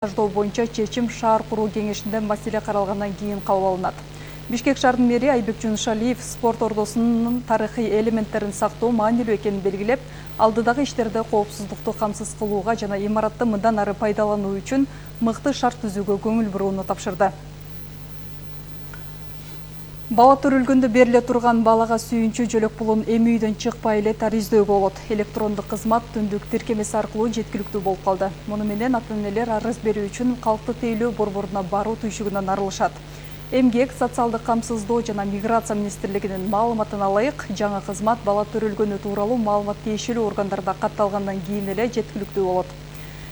Аждоо боюнча чечим шаар куруу кеңешинде маселе каралгандан кийин кабыл алынат. Бишкек шаарынын мэри Айбек Жунушалиев спорт ордосунун тарыхый элементтерин сактоо маанилүү экенин белгилеп, алдыдагы иштерде коопсуздукту камсыз кылууга жана имаратты мындан ары пайдалануу үчүн мыкты шарт түзүүгө көңүл бурууну тапшырды. Бала төрөлгөндө бериле турган балага сүйүнчү жөлөк пулун эми үйдөн чыкпай эле тариздөөгө болот. Электрондук кызмат түндүк тиркемеси аркылуу жеткиликтүү болуп калды. Муну менен ата-энелер арыз берүү үчүн калкты тейлөө борборуна баруу түйшүгүнөн арылышат. Эмгек, социалдык камсыздоо жана миграция министрлигинин маалыматына ылайык, жаңы кызмат бала төрөлгөнү тууралуу маалымат тиешелүү органдарда катталгандан кийин эле жеткиликтүү болот.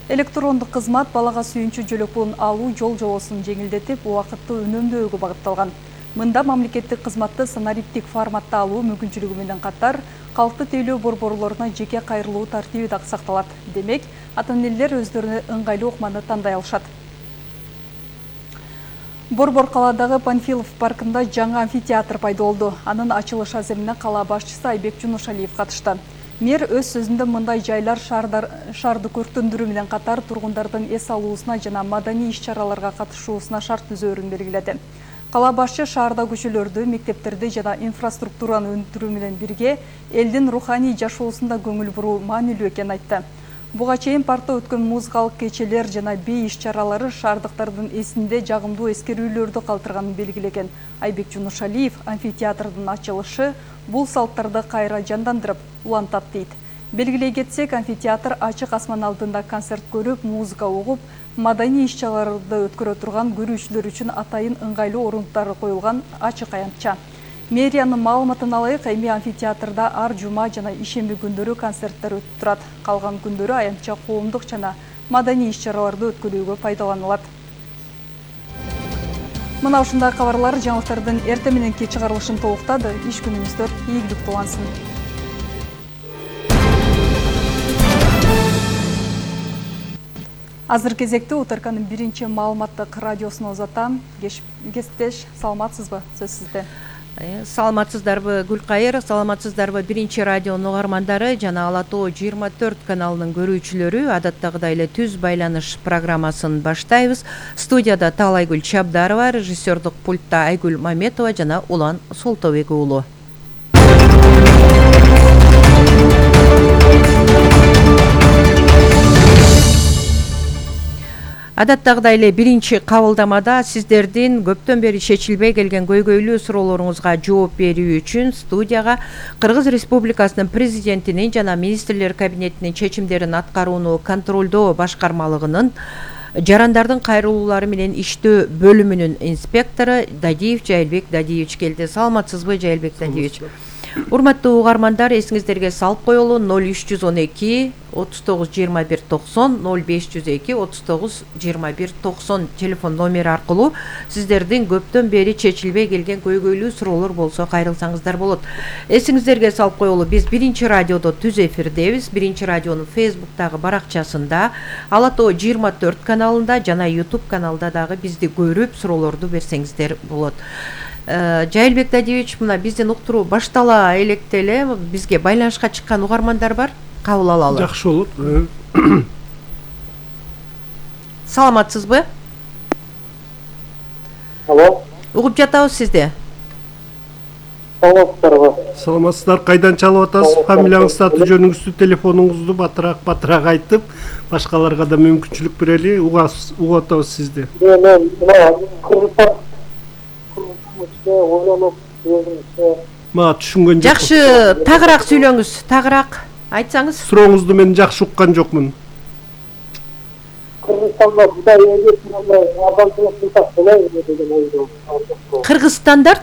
Электрондук кызмат балага сүйүнчү жөлөк пулун алуу жол-жобосун жеңилдетип, убакытты үнөмдөөгө багытталган. Мында мамлекеттик кызматты санариптик форматта алуу мүмкүнчүлүгү менен катар, калкты тейлөө борборлоруна жеке кайрылуу тартиби да сакталат. Демек, ата-энелер өздөрүнө ыңгайлуу ыкманы тандай алышат. Борбор калаадагы Панфилов паркында жаңы амфитеатр пайда болду. Анын ачылыш аземине кала башчысы Айбек Жунушалиев катышты. Мэр өз сөзүндө мындай жайлар шаарды көрктөндүрүү менен катар тургундардын эс алуусуна жана маданий иш-чараларга катышуусуна шарт түзөөрүн белгиледи. Кала башчы шаарда көчөлөрдү, мектептерди жана инфраструктураны өнүктүрүү менен бирге элдин руханий жашоосунда көңүл буруу маанилүү экенин айтты. Буга чейин паркта өткөн музыкалык кечелер жана бий иш-чаралары шаардыктардын эсинде жагымдуу эскерүүлөрдү калтырганын белгилеген Айбек Жунушалиев амфитеатрдын ачылышы бул салттарды кайра жандандырып, улантат дейт. Белгилей кетсек, амфитеатр ачык асман алдында концерт көрүп, музыка угуп, маданий иш-чараларды өткөрө турган көрүүчүлөр үчүн атайын ыңгайлуу орундуктары коюлган ачык аянтча. Мэриянын маалыматына ылайык, эми амфитеатрда ар жума жана ишемби күндөрү концерттер өтүп турат. Калган күндөрү аянтча коомдук жана маданий иш-чараларды өткөрүүгө пайдаланылат. Мына ушундай кабарлар жаңылыктардын эртең мененки чыгарылышын толуктады. Иш күнүңүздөр ийгиликтүү улансын. Азыр кезекте УТРКнын биринчи маалыматтык радиосуна узатам. Кесиптеш, саламатсызбы? Сөз сизде. Саламатсыздарбы, Гүлкайыр, саламатсыздарбы биринчи радионун угармандары жана Ала Тоо 24 каналынын көрүүчүлөрү. Адаттагыдай эле түз байланыш программасын баштайбыз. Студияда Таалайгүл Чабдарова, режиссердук пультта Айгүл Маметова жана Улан Солтобек уулу. Адаттагыдай эле биринчи кабылдамада сиздердин көптөн бери чечилбей келген көйгөйлүү суроолоруңузга жооп берүү үчүн студияга Кыргыз Республикасынын президентинин жана министрлер кабинетинин чечимдерин аткарууну контролдоо башкармалыгынын жарандардын кайрылуулары менен иштөө бөлүмүнүн инспектору Дадиев Жайылбек Дадиевич келди. Саламатсызбы, Жайылбек Дадиевич? Урматтуу угармандар, эсиңиздерге салып коелу 0312 39 21 90 0502 39 21 90 телефон номери аркылуу сиздердин көптөн бери чечилбей келген көйгөйлүү суроолор болсо кайрылсаңыздар болот. Эсиңиздерге салып коелу, биз биринчи радиодо түз эфирдебиз. Биринчи радионун Facebook'тагы баракчасында, Ала Тоо 24 каналында жана YouTube каналда дагы бизди көрүп суроолорду берсеңиздер болот. Жайылбек Дадиевич, мына биздин уктуруу баштала электе эле бизге байланышка чыккан угармандар бар. Кабыл алалы. Жакшы болот. Саламатсызбы? Алло. Угуп жатабыз сизди. Саламатсыздарбы? Саламатсыздар, кайдан чалып атасыз? Фамилияңызды, аты жөнүңүздү, телефонуңузду батыраак айтып, башкаларга да мүмкүнчүлүк берели. Угуп атабыз сизди. Мен Кыргызстан ойлонуп Мага түшүнгөн жок. Жакшы, тагыраак сүйлөңүз, тагыраак айтсаңыз. Сурооңузду мен жакшы уккан жокмун. Кыргызстанда Будай эгеп мындай адамчылык кылсак болобу деген ойдо. Кыргызстандар?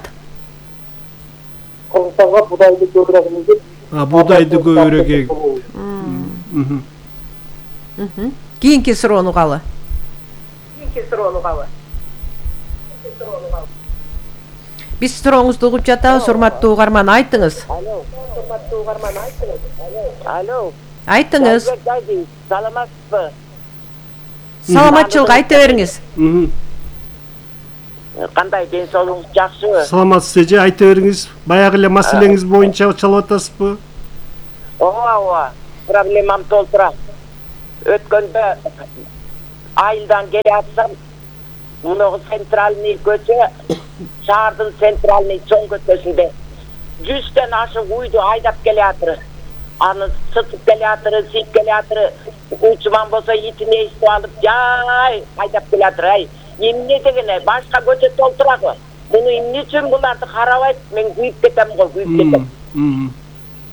Кыргызстанга Будайды көбүрөөк эгеп. Будайды көбүрөөк эгеп. Кийинки суроону калы. Биз сурооңузду угуп жатабыз, урматтуу угарман, айтыңыз. Алло. Айтыңыз. Саламатсызбы? Саламатчылык айта бериңиз. Кандай ден соолугуңуз жакшыбы? Саламатсыз эже, айта бериңиз. Баягы эле маселеңиз боюнча чалып атасызбы? Ооба, проблемам толтура. Өткөндө айылдан келе атсам, муногу центральный көчө, шаардын центральный чоң көчөсүндө 100тен ашык уйду айдап келе атыр. Аны сытып келе атыр, сийип келе атыр. Учман болсо итине эстип алып, жай айдап келе атыр. Ай, эмне дегене, башка көчө толтурагы. Муну эмне үчүн буларды карабайт? Мен күйүп кетем го, күйүп кетем.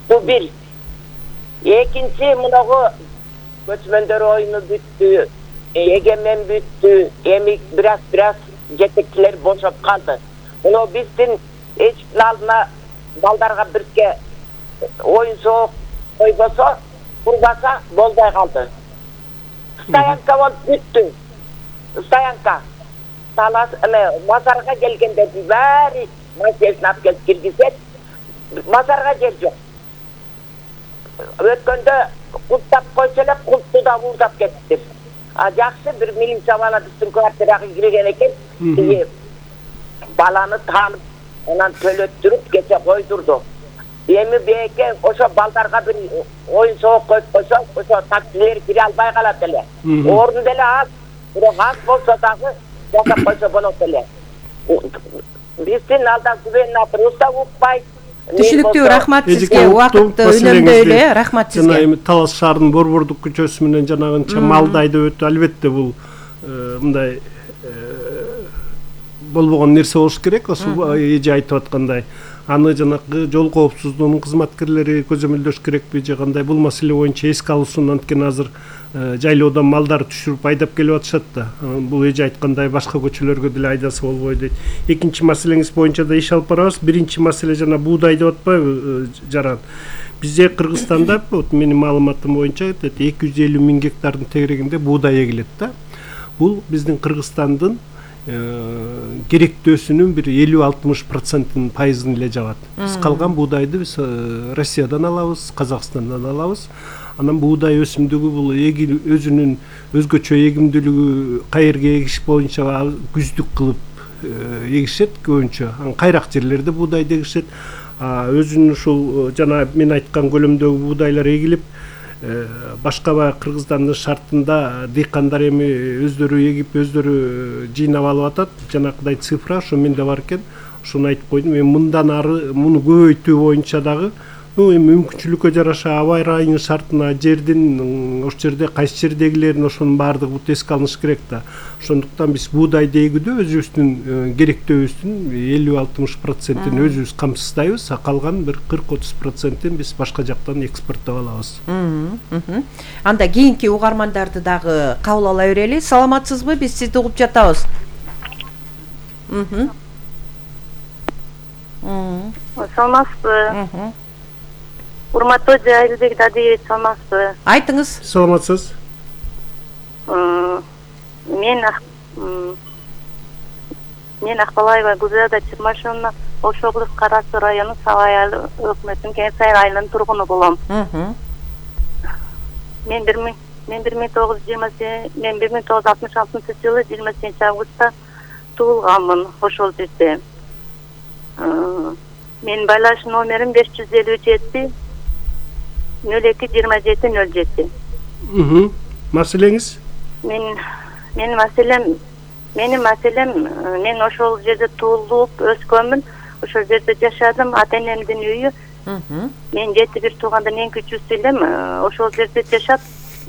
Бу бир. Экинчи, муногу көчмөндөр оюну бүттү, эгемен бүттү, эми бираз жетекчилер бошоп калды. Муну биздин эчтин алдына балдарга бирке оюн соок койбосо, курбаса болбой калды. Стоянка болуп бүттү. Стоянка. Мазарга келгендердин баары машинасына алып келип киргизет. Мазарга жер жок. Өткөндө култап койсо эле култту да уурдап кетиптир. Жакшы бир милиция бала биздин квартирага кирген экен. Баланы таанып, анан төлөттүрүп кече койдурду. Эми беке ошо балдарга бир оюн соок коюп койсо, ошо таксилер кире албай калат эле. Орун деле аз, бирок аз болсо дагы жасап койсо болот эле. Биздин алда губернаторубуз да укпайт. Түшүнүктүү, рахмат сизге. Убакытты үнөмдөйлү, рахмат сизге. Жана эми Талас шаарынын Борбордук көчөсү менен жанагынча Малдайды өтүп, албетте бул мындай болбогон нерсе болуш керек. Ошо эже айтып аткандай, аны жанагы жол коопсуздугунун кызматкерлери көзөмөлдөш керекпи же кандай, бул маселе боюнча эске алуусун. Анткени азыр жайлоодон малдар түшүрүп айдап келип атышат да. Бул эже айткандай башка көчөлөргө деле айдаса болбойт дейт. Экинчи маселеңиз боюнча да иш алып барабыз. Биринчи маселе жана буудай деп атпайбы, Жаран? Бизде Кыргызстанда, вот менин маалыматым боюнча 250 000 гектардын тегерегинде буудай эгилет да. Бул биздин Кыргызстандын керектөөсүнүн бир 50-60% пайызын эле жабат. Биз калган буудайды биз Россиядан алабыз, Казакстандан алабыз. Анан буудай өсүмдүгү бул өзүнүн өзгөчө эгимдүүлүгү кайерге эгиш боюнча күздүк кылып эгишет көбүнчө. Кайрак жерлерде буудайды эгишет. Өзүнүн ушул жана мен айткан көлөмдөгү буудайлар эгилип, башка баягы Кыргызстандын шартында дыйкандар эми өздөрү эгип, өздөрү жыйнап алып атат. Жанакыдай цифра ошо менде бар экен. Ошону айтып койдум. Эми мындан ары муну көбөйтүү боюнча дагы эми мүмкүнчүлүккө жараша аба ырайынын шартына, жердин ошол жерде кайсы жердегилерин ошонун баардыгы эске алыныш керек да. Ошондуктан биз буудайды эгүүдө өзүбүздүн керектөөбүздүн 50-60%-ин өзүбүз камсыздайбыз, калган бир 40-30%-ин биз башка жактан экспорттоп алабыз. Анда кийинки угармандарды дагы кабыл ала берели. Саламатсызбы? Биз сизди угуп жатабыз. Саламатсызбы? Урматтуу Жайлыбек Дадиевич, саламатсызбы? Айтыңыз. Саламатсыз. Мен Акбалаева Гүлзада Чырмашевна, Ош облусу Кара Суу району Сабай айылы өкмөтүнүн Кеңсай айылынын тургуну болом. Мен 1966-жылы 28 туулганмын ошол жерде. Менин байланыш номерим 557 02-27-07. Маселеңиз? Менин маселем, мен ошол жерде туулуп өскөнмүн, ошол жерде жашадым, ата-энемдин үйү. Мен 7-1 туугандан эң кичүүсү элем, ошол жерде жашап,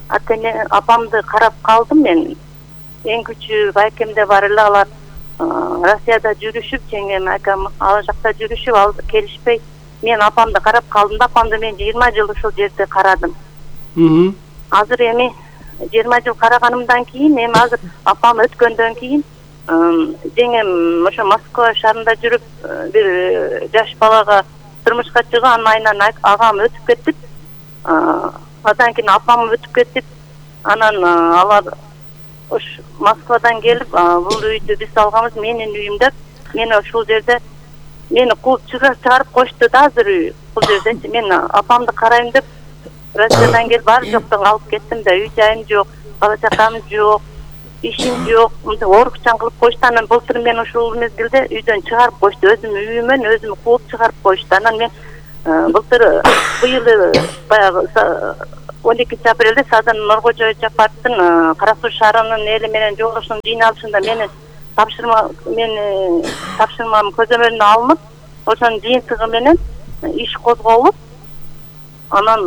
ата-эне апамды карап калдым мен. Эң кичүү байкемде бар эле, алар Россияда жүрүшүп, жеңем акам ал жакта жүрүшүп, ал келишпей, мен апамды карап калдым да, апамды мен 20 жыл ошол жерде карадым. Азыр эми 20 жыл караганымдан кийин, эми азыр апам өткөндөн кийин, жеңем ошо Москва шаарында жүрүп, бир жаш балага турмушка чыгып, анын айынан агам өтүп кетип, андан кийин апам өтүп кетип, анан алар ош Москвадан келип, бул үйдү биз алганбыз, менин үйүм деп, мени ошол жерде мени кууп чыгарып кошту да, азыр үй. Бул жерде мен апамды карайм деп Россиядан келип бар жоктон алып кеттим да, үй жайым жок, бала чакам жок, ишим жок, мындай оорукчан кылып кошту. Анан былтыр мен ошол мезгилде үйдөн чыгарып кошту, өзүм үйүмөн өзүм кууп чыгарып кошту. Анан мен былтыр быйыл баягы 12 апрелде Садыр Нуркожоевич Жапаровдун Кара Суу шаарынын эли менен жолугушуунун жыйналышында мени тапшырмам көзөмөлүнө алынып, ошонун жыйынтыгы менен иш козголуп, анан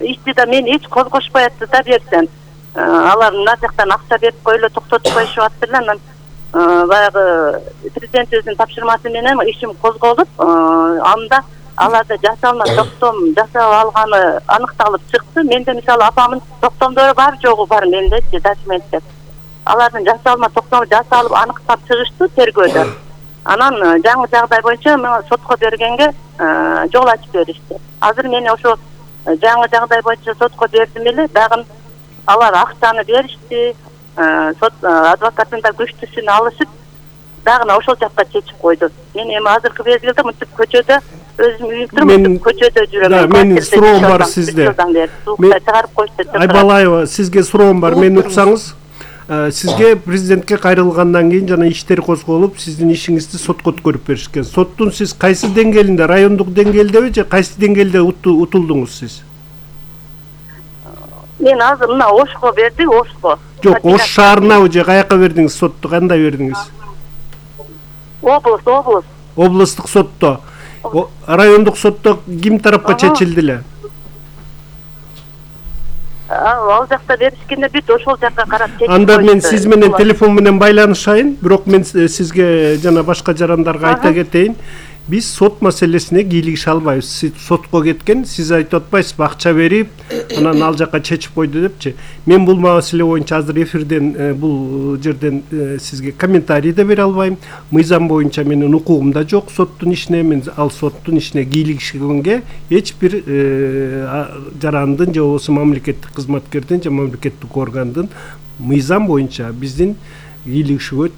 ишти да мени эч козгошпой атты да берсем. Алар мына жактан акча берип койло, токтотуп коюшуп аттырлар. Анан баягы президент өзүнүн тапшырмасы менен ишим козголуп, анда аларда жасалма токтом жасап алганы аныкталып чыкты. Менде мисалы апамдын токтомдору бар жогу бар мендечи документтер. Алардын жасалма токтому жасалып аныктап чыгышты тергөөдө. Анан жаңы жагдай боюнча сотко бергенге жол ачып беришти. Азыр мени ошо жаңы жагдай боюнча сотко бердим эле, дагы алар акчаны беришти. Сот адвокаттын да күчтүсүн алышып, дагы ошол жакка чечип койду. Мен эми азыркы мезгилде мынтип көчөдө өзүм үйүмдүр көчөдө жүрөм. Менин суроом бар сизде. Чыгарып коюшту. Айбалаева, сизге суроом бар. Мени уксаңыз, сизге президентке кайрылгандан кийин жана иштер козголуп, сиздин ишиңизди сотко өткөрүп беришкен. Соттун сиз кайсы деңгээлинде, райондук деңгээлдеби же кайсы деңгээлде утулдуңуз сиз? Мен азыр мына Ошко берди, Ошко. Жок, Ош шаарынабы же каяка бердиңиз сотту, кандай бердиңиз? Облус. Облустук сотто. Райондук сотто ким тарапка чечилди эле? Ал жакта беришкенде бүт ошол жакка карап чечип койду. Анда мен сиз менен телефон менен байланышайын, бирок мен сизге жана башка жарандарга айта кетейин. Биз сот маселесине кийлигише албайбыз. Сиз сотко кеткен, сиз айтып атпайсызбы, акча берип, анан ал жакка чечип койду депчи. Мен бул маселе боюнча азыр эфирден бул жерден сизге комментарий да бере албайм. Мыйзам боюнча менин укугум да жок соттун ишине, мен ал соттун ишине кийлигишкенге эч бир жарандын же болбосо мамлекеттик кызматкердин же мамлекеттик органдын мыйзам боюнча биздин кийлигишүүгө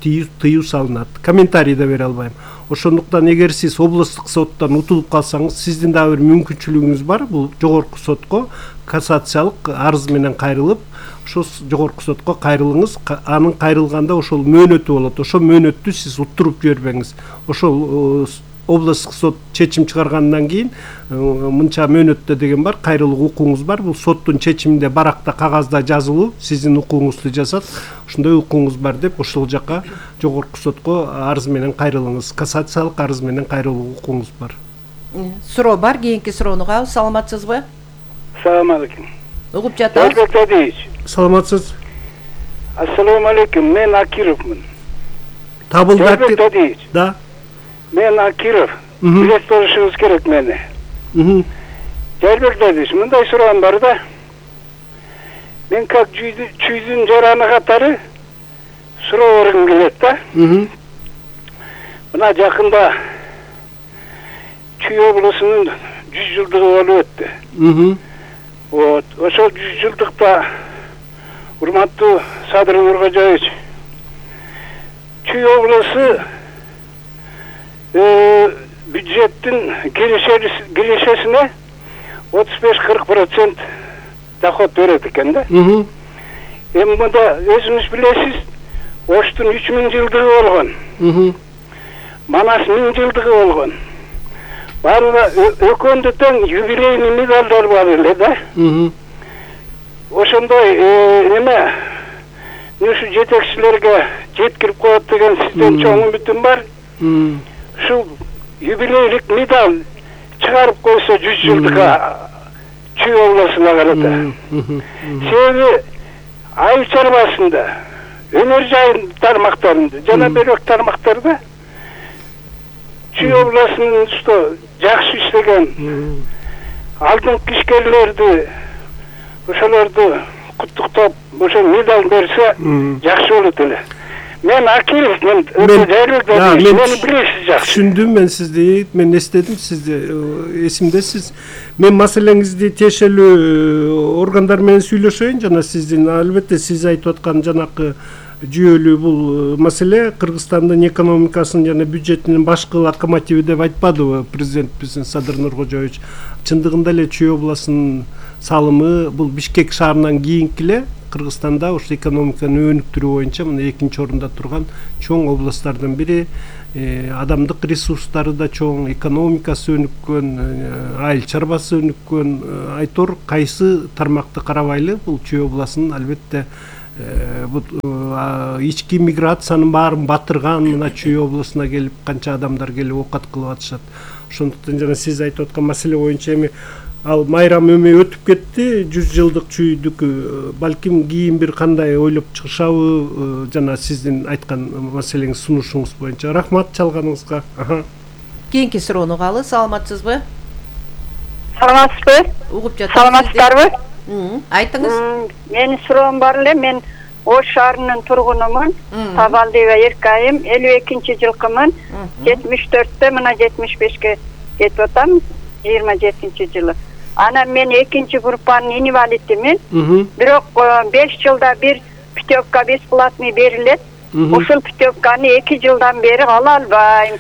тыюу салынат. Комментарий да бере албайм. Ошондуктан эгер сиз облустук соттон утулуп калсаңыз, сиздин дагы бир мүмкүнчүлүгүңүз бар. Бул жогорку сотко кассациялык арыз менен кайрылып, ошо жогорку сотко кайрылыңыз. Анын кайрылганда ошол мөөнөтү болот. Ошол мөөнөттү сиз уттуруп жибербеңиз. Ошол облустук сот чечим чыгаргандан кийин мынча мөөнөттө деген бар, кайрылуу укугуңуз бар. Бул соттун чечиминде баракта кагазда жазылуу, сиздин укугуңузду жазат. Ошондой укугуңуз бар деп ошол жака жогорку сотко арыз менен кайрылыңыз. Кассациялык арыз менен кайрылуу укугуңуз бар. Суроо бар, кийинки суроону угабыз. Саламатсызбы? Салам алейкум. Угуп жатабыз. Саламатсыз. Ассаламу алейкум. Мен Акировмун. Табылды. Да. Мен Акиров. Билет болушуңуз керек мени. Жайбек, мындай суроом бар да. Мен как чүйдүн жараны катары суроо бергим келет да. Мына жакында Чүй облусунун 100 жылдыгы болуп өттү. Вот, ошол 100 жылдыкта урматтуу Садыр Нуркожоевич Чүй облусу бюджеттин киришесине 35-40% доход берет экен да. Эми мында өзүңүз билесиз, Оштун 3000 жылдыгы болгон. Манас 1000 жылдыгы болгон. Баары экөөндө тең юбилейный медалдар бар эле да. Ошондой эме ушу жетекчилерге жеткирип коет деген сизден чоң үмүтүм бар. Ушул юбилейлик медаль чыгарып койсо 100 жылдыкка Чүй облусуна карата. Себеби айыл чарбасында, өнөр жайын тармактарында, жана бөлөк тармактарда Чүй облусунун жакшы иштеген алдыңкы ишкерлерди, ошолорду куттуктап, ошо медаль берсе жакшы болот эле. Мен Акилов, мен билесиз жакшы. Түшүндүм мен сизди, мен эстедим сизди, эсимдесиз. Мен маселеңизди тиешелүү органдар менен сүйлөшөйүн, жана сиздин албетте сиз айтып аткан жанакы жүйөлүү бул маселе Кыргызстандын экономикасынын жана бюджетинин башкы локомотиви деп айтпадыбы президентибиздин Садыр Нуркожоевич? Чындыгында эле Чүй облусунун салымы бул Бишкек шаарынан кийинки эле Кыргызстанда ошо экономиканы өнүктүрүү боюнча мына 2-орунда турган чоң областтардын бири. Адамдык ресурстары да чоң, экономикасы өнүккөн, айыл чарбасы өнүккөн. Айтор кайсы тармакты карабайлы, бул Чүй областынын албетте ички миграциянын баарын батырган, мына Чүй областына келип канча адамдар келип оокат кылып атышат. Ошондуктан жана сиз айтып аткан маселе боюнча эми ал майрам эми өтүп кетти, 100 жылдык Чүйдүкү. Балким кийин бир кандай ойлоп чыгышабы, жана сиздин айткан маселеңиз, сунушуңуз боюнча. Рахмат чалганыңызга. Кийинки суроону угалы. Саламатсызбы? Саламатсызбы? Угуп жатам. Саламатсыздарбы? Айтыңыз. Менин суроом бар эле. Мен Ош шаарынын тургунумун. Табалдиева Эркайым, 52-жылкымын. 74-тө мына 75-ке кетип атам, 27-жылы. Анан мен 2-группанын инвалидимин. Бирок 5 жылда бир путевка бесплатный берилет. Ушул путевканы 2 жылдан бери ала албайм.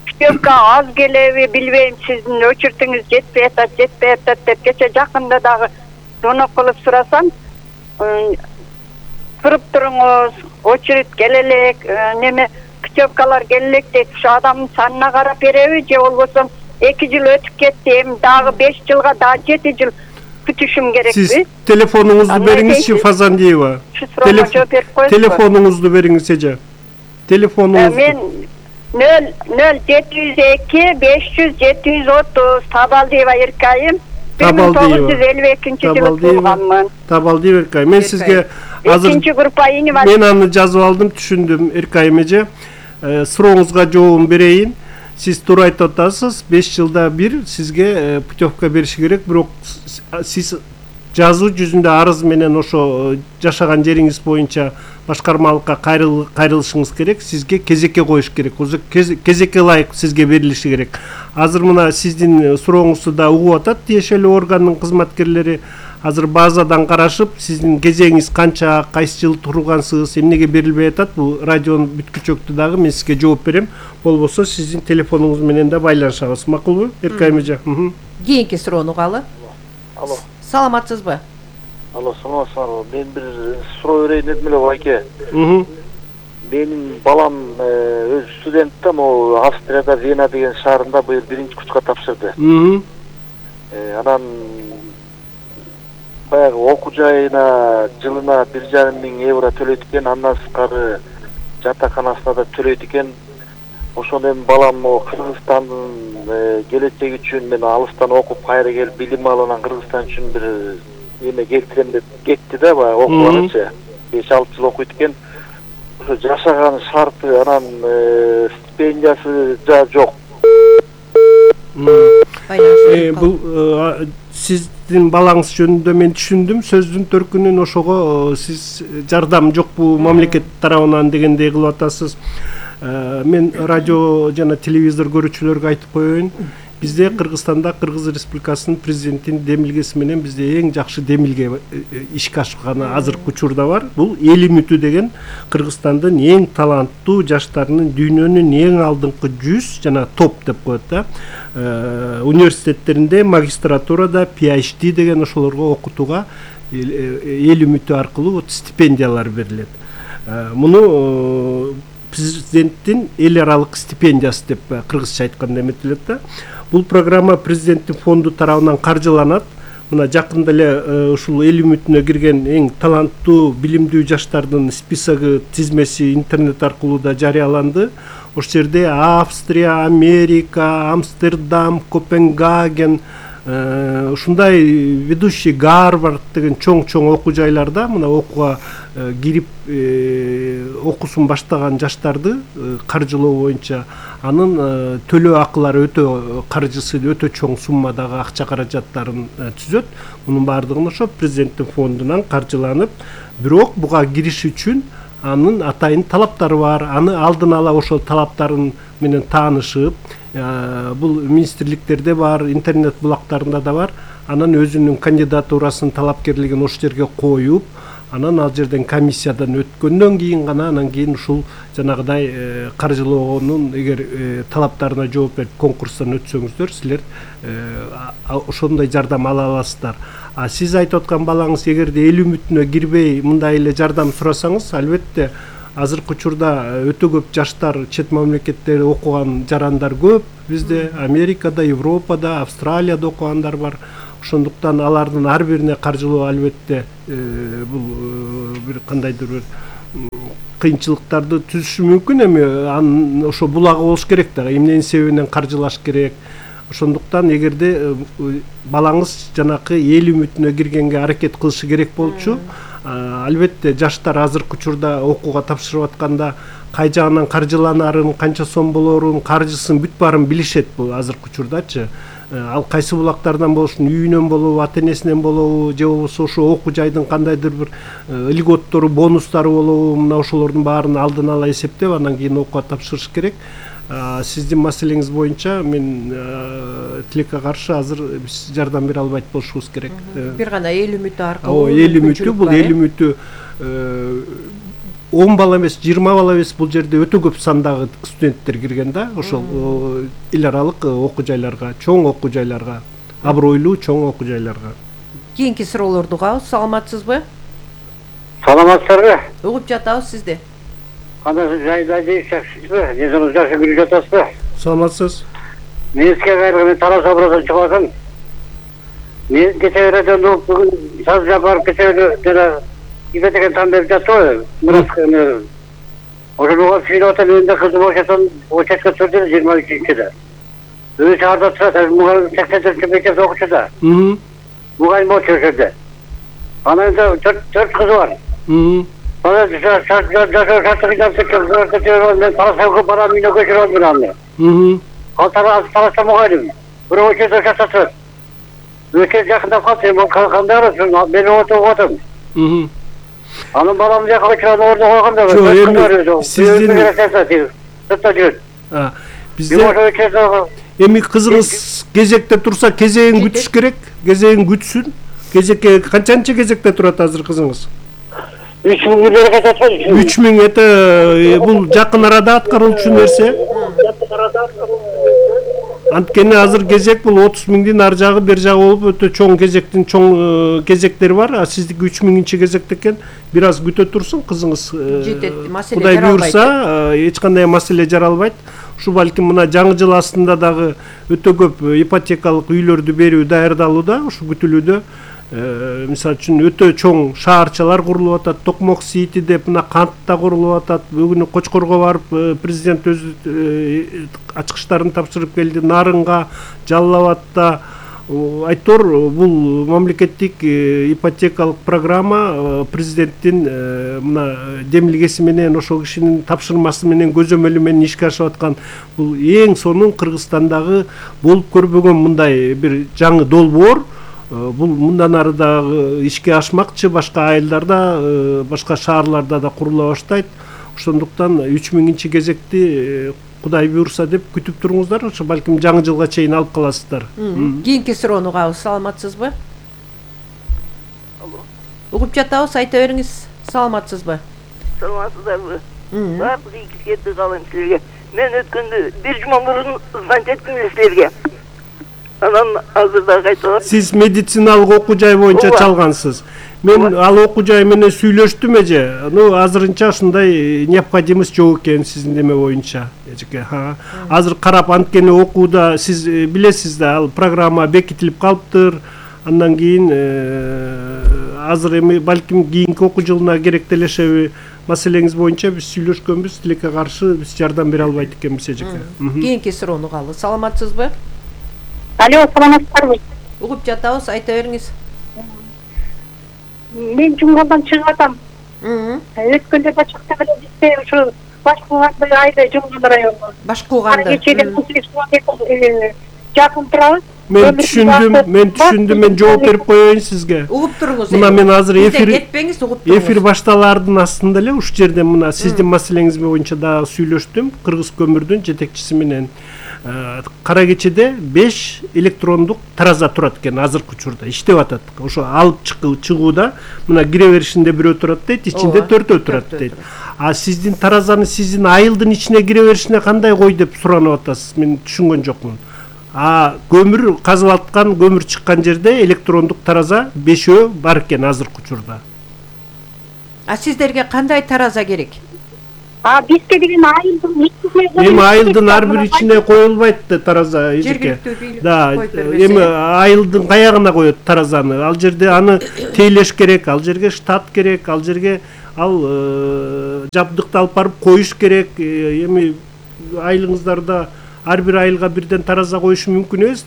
Путевка аз келеби билбейм, сиздин өчүртүңүз жетпей атат деп кече жакында дагы звонок кылып сурасам, туруп туруңуз, очередь келелек, неме путевкалар келелек дейт. Ушу адамдын санына карап береби же болбосо 2 жыл өтүп кетти, эми дагы 5 жылга дагы 7 жыл күтүшүм керекпи? Сиз телефонуңузду бериңизчи, Фазандиева. Телефонуңузду бериңиз эже. Телефонуңузду. Мен 0-702-500-730 Табалдиева Эркайым. 1952-жылы туулганмын. Табалдиева Эркайым. Мен сизге азыр 2-группа инвалид. Мен аны жазып алдым, түшүндүм, Эркайым эже. Сурооңузга жообун берейин. Сиз туура айтып атасыз, 5 жылда бир сизге путевка бериши керек, бирок сиз жазуу жүзүндө арыз менен ошо жашаган жериңиз боюнча башкармалыкка кайрылышыңыз керек, сизге кезекке коюш керек. Кезекке ылайык сизге берилиши керек. Азыр мына сиздин сурооңузду да угуп атат тиешелүү органдын кызматкерлери. Азыр базадан карашып, сиздин кезегиңиз канча, кайсы жыл тургансыз, эмнеге берилбей атат, бул радионун бүткүчөктү дагы мен сизге жооп берем. Болбосо сиздин телефонуңуз менен да байланышабыз. Макулбу, Эркайым эже? Кийинки суроону угалы. Алло. Саламатсызбы? Алло, саламатсызбы. Мен бир суроо берейин дедим эле, байке. Менин балам өз студент да, могу Австрияда Вена деген шаарында быйыл 1-курска тапшырды. Анан баягы окуу жайына жылына 1,5 миң евро төлөйт экен, андан сырткары жатаканасына да төлөйт экен. Ошондо эми балам Кыргызстандын келечеги үчүн мен алыстан окуп кайра келип билим алып, анан Кыргызстан үчүн бир эме келтирем деп кетти да, баягы окуганчы. 5-6 жыл окуйт экен. Ошо жашаган шарты, анан стипендиясы жок. Бул сиздин балаңыз жөнүндө мен түшүндүм. Сөздүн төркүнүн ошого сиз жардам жокпу мамлекет тарабынан дегендей кылып атасыз. Мен радио жана телевизор көрүүчүлөргө айтып коеюн. Бизде Кыргызстанда Кыргыз Республикасынын президентинин демилгеси менен бизде эң жакшы демилге ишке ашканы азыркы учурда бар. Бул эл үмүтү деген Кыргызстандын эң таланттуу жаштарынын дүйнөнүн эң алдыңкы 100 жана топ деп коет да. Университеттеринде, магистратурада, PhD деген ошолорго окутууга эл үмүтү аркылуу вот стипендиялар берилет. Муну президенттин эл аралык стипендиясы деп кыргызча айтканда эметилет да. Бул программа президенттин фонду тарабынан каржыланат. Мына жакында эле ушул эл үмүтүнө кирген эң таланттуу, билимдүү жаштардын списогу, тизмеси интернет аркылуу да жарыяланды. Ошол жерде Австрия, Америка, Амстердам, Копенгаген, ушундай ведущий Гарвард деген чоң окуу жайларда мына окууга кирип окуусун баштаган жаштарды каржылоо боюнча анын төлөө акылары өтө каржысы өтө чоң суммадагы акча каражаттарын түзөт. Мунун баардыгын ошо президенттин фондунан каржыланып, бирок буга кириш үчүн анын атайын талаптары бар. Аны алдын ала ошол талаптарын менен таанышып, бул министрликтерде бар, интернет булактарында да бар. Анан өзүнүн кандидатурасын, талапкерлигин ошол жерге коюп, Анан ал жерден комиссиядан өткөндөн кийин гана анан кийин ушул жанагыдай каржылоонун эгер талаптарына жооп берип конкурстан өтсөңүздөр силер ошондой жардам ала аласыздар. А сиз айтып аткан балаңыз эгерде эл үмүтүнө кирбей мындай эле жардам сурасаңыз, албетте азыркы учурда өтө көп жаштар чет мамлекеттерде окуган жарандар көп. Бизде Америкада, Европада, Австралияда окугандар бар. Ошондуктан алардын ар бирине каржылоо албетте бул бир кандайдыр бир кыйынчылыктарды түзүшү мүмкүн. Эми ошо булагы болуш керек да, эмненин себебинен каржылаш керек. Ошондуктан эгерде балаңыз жанакы эл үмүтүнө киргенге аракет кылышы керек болчу. Албетте жаштар азыркы учурда окууга тапшырып атканда кай жагынан каржыланарын, канча сом болорун, каржысын бүт баарын билишет бул азыркы учурдачы. Ал кайсы булактардан болушун, үйүнөн болобу, ата-энесинен болобу, же болбосо ошо окуу жайдын кандайдыр бир льготтору, бонустары болобу, мына ошолордун баарын алдын ала эсептеп, анан кийин окууга тапшырыш керек. Сиздин маселеңиз боюнча мен тилекке каршы азыр биз жардам бере албайт болушубуз керек. Бир гана эл үмүтү аркылуу. Эл үмүтү, бул эл үмүтү 10 бала эмес, 20 бала эмес, бул жерде өтө көп сандагы студенттер кирген да, ошол эл аралык окуу жайларга, чоң окуу жайларга, абройлуу чоң окуу жайларга. Кийинки суроолорду угабыз. Саламатсызбы? Саламатсызбы? Угуп жатабыз сизди. Кандай жайда жакшысызбы? Жөнүңүз жакшы көрүп жатасызбы? Саламатсыз. Мен сизге кайрылып Тарас образдан чыгасың. Мен кече радиону бүгүн саз жапарып кече ипотека там берип жатты. Мурат ошого сүйлөп атам, мен да кызым ошондон участка түрдө 23-де. Өзү шаарда турат, мугалим 84 мектепте окучу да. Мугалим болчу ошерде. Анан 4 кызы бар. Бала мен Тарасовго барам, үйүнө көчүрөм мен аны. Ал Тараса мугалим. Бирөө өчөдө жашатат. Өчө жакындап калды, мен кандай арасың? Мен отуруп атам. Анын баламды жака көчүрөп ордо койгондо. Жок, бизде эми кызыңыз кезекте турса, кезегин күтүш керек. Кезегин күтсүн. Кезекке канчанчы кезекте турат азыр кызыңыз? 3000 это бул жакын арада аткарылчу нерсе. Анткени азыр кезек бул 30.000дин ар жагы бер жагы болуп өтө чоң кезектин чоң кезектери бар. А сиздики 3000-чи кезекте экен. Бир аз күтө турсун кызыңыз. Кудай буйрса, эч кандай маселе жаралбайт. Ушу балким мына жаңы жыл астында дагы өтө көп ипотекалык үйлөрдү берүү даярдалууда, ушу күтүлүүдө. Мисалы үчүн өтө чоң шаарчалар курулуп атат, Токмок Сити деп мына Кантта курулуп атат. Бүгүн Кочкорго барып президент өз ачкычтарын тапшырып келди. Нарынга, Жалал Абадта. Айтор бул мамлекеттик ипотекалык программа президенттин мына демилгеси менен, ошол кишинин тапшырмасы менен, көзөмөлү менен ишке ашып аткан бул эң сонун Кыргызстандагы болуп көрбөгөн мындай бир жаңы долбоор. Бул мындан ары дагы ишке ашмакчы, башка айылдарда, башка шаарларда да курула баштайт. Ошондуктан 3000-чи кезекти Кудай буйрса деп күтүп туруңуздар, ошо балким жаңы жылга чейин алып каласыздар. Кийинки суроону угабыз. Саламатсызбы? Угуп жатабыз, айта бериңиз. Саламатсызбы? Саламатсыздарбы? Баардык ийгиликтерди каалайм силерге. Мен өткөндө бир жума мурун звончеттим силерге. Анан азырда кайталап. Сиз медициналык окуу жай боюнча чалгансыз. Мен ал окуу жай менен сүйлөштүм эже. Азырынча ушундай необходимость жок экен сиздин неме боюнча. Азыр карап анткени окууда сиз билесиз да, ал программа бекитилип калыптыр. Андан кийин азыр эми балким кийинки окуу жылына керектелешеби маселеңиз боюнча биз сүйлөшкөнбүз. Тилекке каршы биз жардам бере албайт экенбиз эжеке. Кийинки суроону угалы. Саламатсызбы? Алло, саламатсыздарбы? Угуп жатабыз, айта бериңиз. Мен Жумгалдан чыгып атам. Өткөндө да чыкты беле бизде ушу Башкулганды айда Жумгал району. Башкулганды. Кечеде 18 километр жакын турабыз. Мен түшүндүм, мен жооп берип коеюн сизге. Угуп туруңуз. Мына мен азыр кетпеңиз, угуп туруңуз. Эфир башталаардын астында эле ушул жерде мына сиздин маселеңиз боюнча дагы сүйлөштүм. Кыргыз көмүрдүн жетекчиси менен кара кечеде 5 электрондук тараза турат экен азыркы учурда, иштеп атат. Ошо алып чыгууда мына кире беришинде бирөө турат дейт, ичинде 4 турат дейт. А сиздин таразаны сиздин айылдын ичине кире беришине кандай кой деп суранып атасыз? Мен түшүнгөн жокмун. Көмүр казып аткан, көмүр чыккан жерде электрондук тараза 5 бар экен азыркы учурда. Сиздерге кандай тараза керек? Бизге деген айылдын ичине. Эми айылдын ар бир ичине коюлбайт да тараза, эжеке. Да, эми айылдын каягына коет таразаны. Ал жерде аны тейлеш керек, ал жерге штат керек, ал жерге жабдыкты алып барып коюш керек. Эми айылыңыздарда ар бир айылга бирден тараза коюш мүмкүн эмес.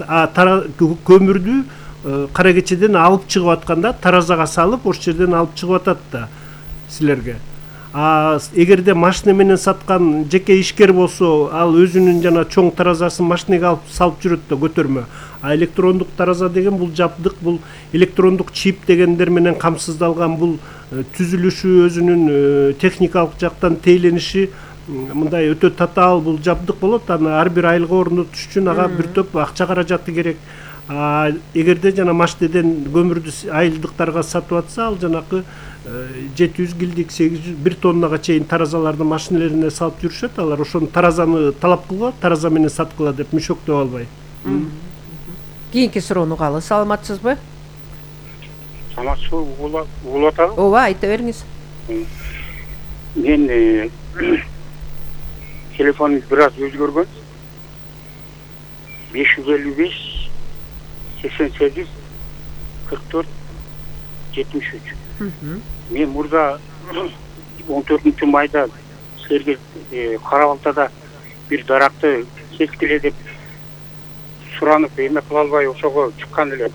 Көмүрдү кара кечеден алып чыгып атканда таразага салып, ошол жерден алып чыгып атат да силерге. Эгерде машина менен саткан жеке ишкер болсо, ал өзүнүн жана чоң таразасын машинага алып салып жүрөт да көтөрмө. Электрондук тараза деген бул жабдык, бул электрондук чип дегендер менен камсыздалган, бул түзүлүшү, өзүнүн техникалык жактан тейлениши мындай өтө татаал бул жабдык болот. Аны ар бир айылга орнотуш үчүн ага бир топ акча каражаты керек. Эгерде жана машинеден көмүрдү айылдыктарга сатып атса, ал жанакы 700 килдик, 800, 1 тоннага чейин таразаларды машинелерине салып жүрүшөт. Алар ошону таразаны талап кылгыла, тараза менен саткыла деп мүшөктөп албай. Кийинки суроону угалы. Саламатсызбы? Саламатсызбы, угулуп атабы? Ооба, айта бериңиз. Мен телефонум бир аз өзгөргөн. 555 88 44 73. Мен мурда 14 майда силерге Кара-Балтада бир даракты кескиле деп суранып эме кыла албай ошого чыккан элем.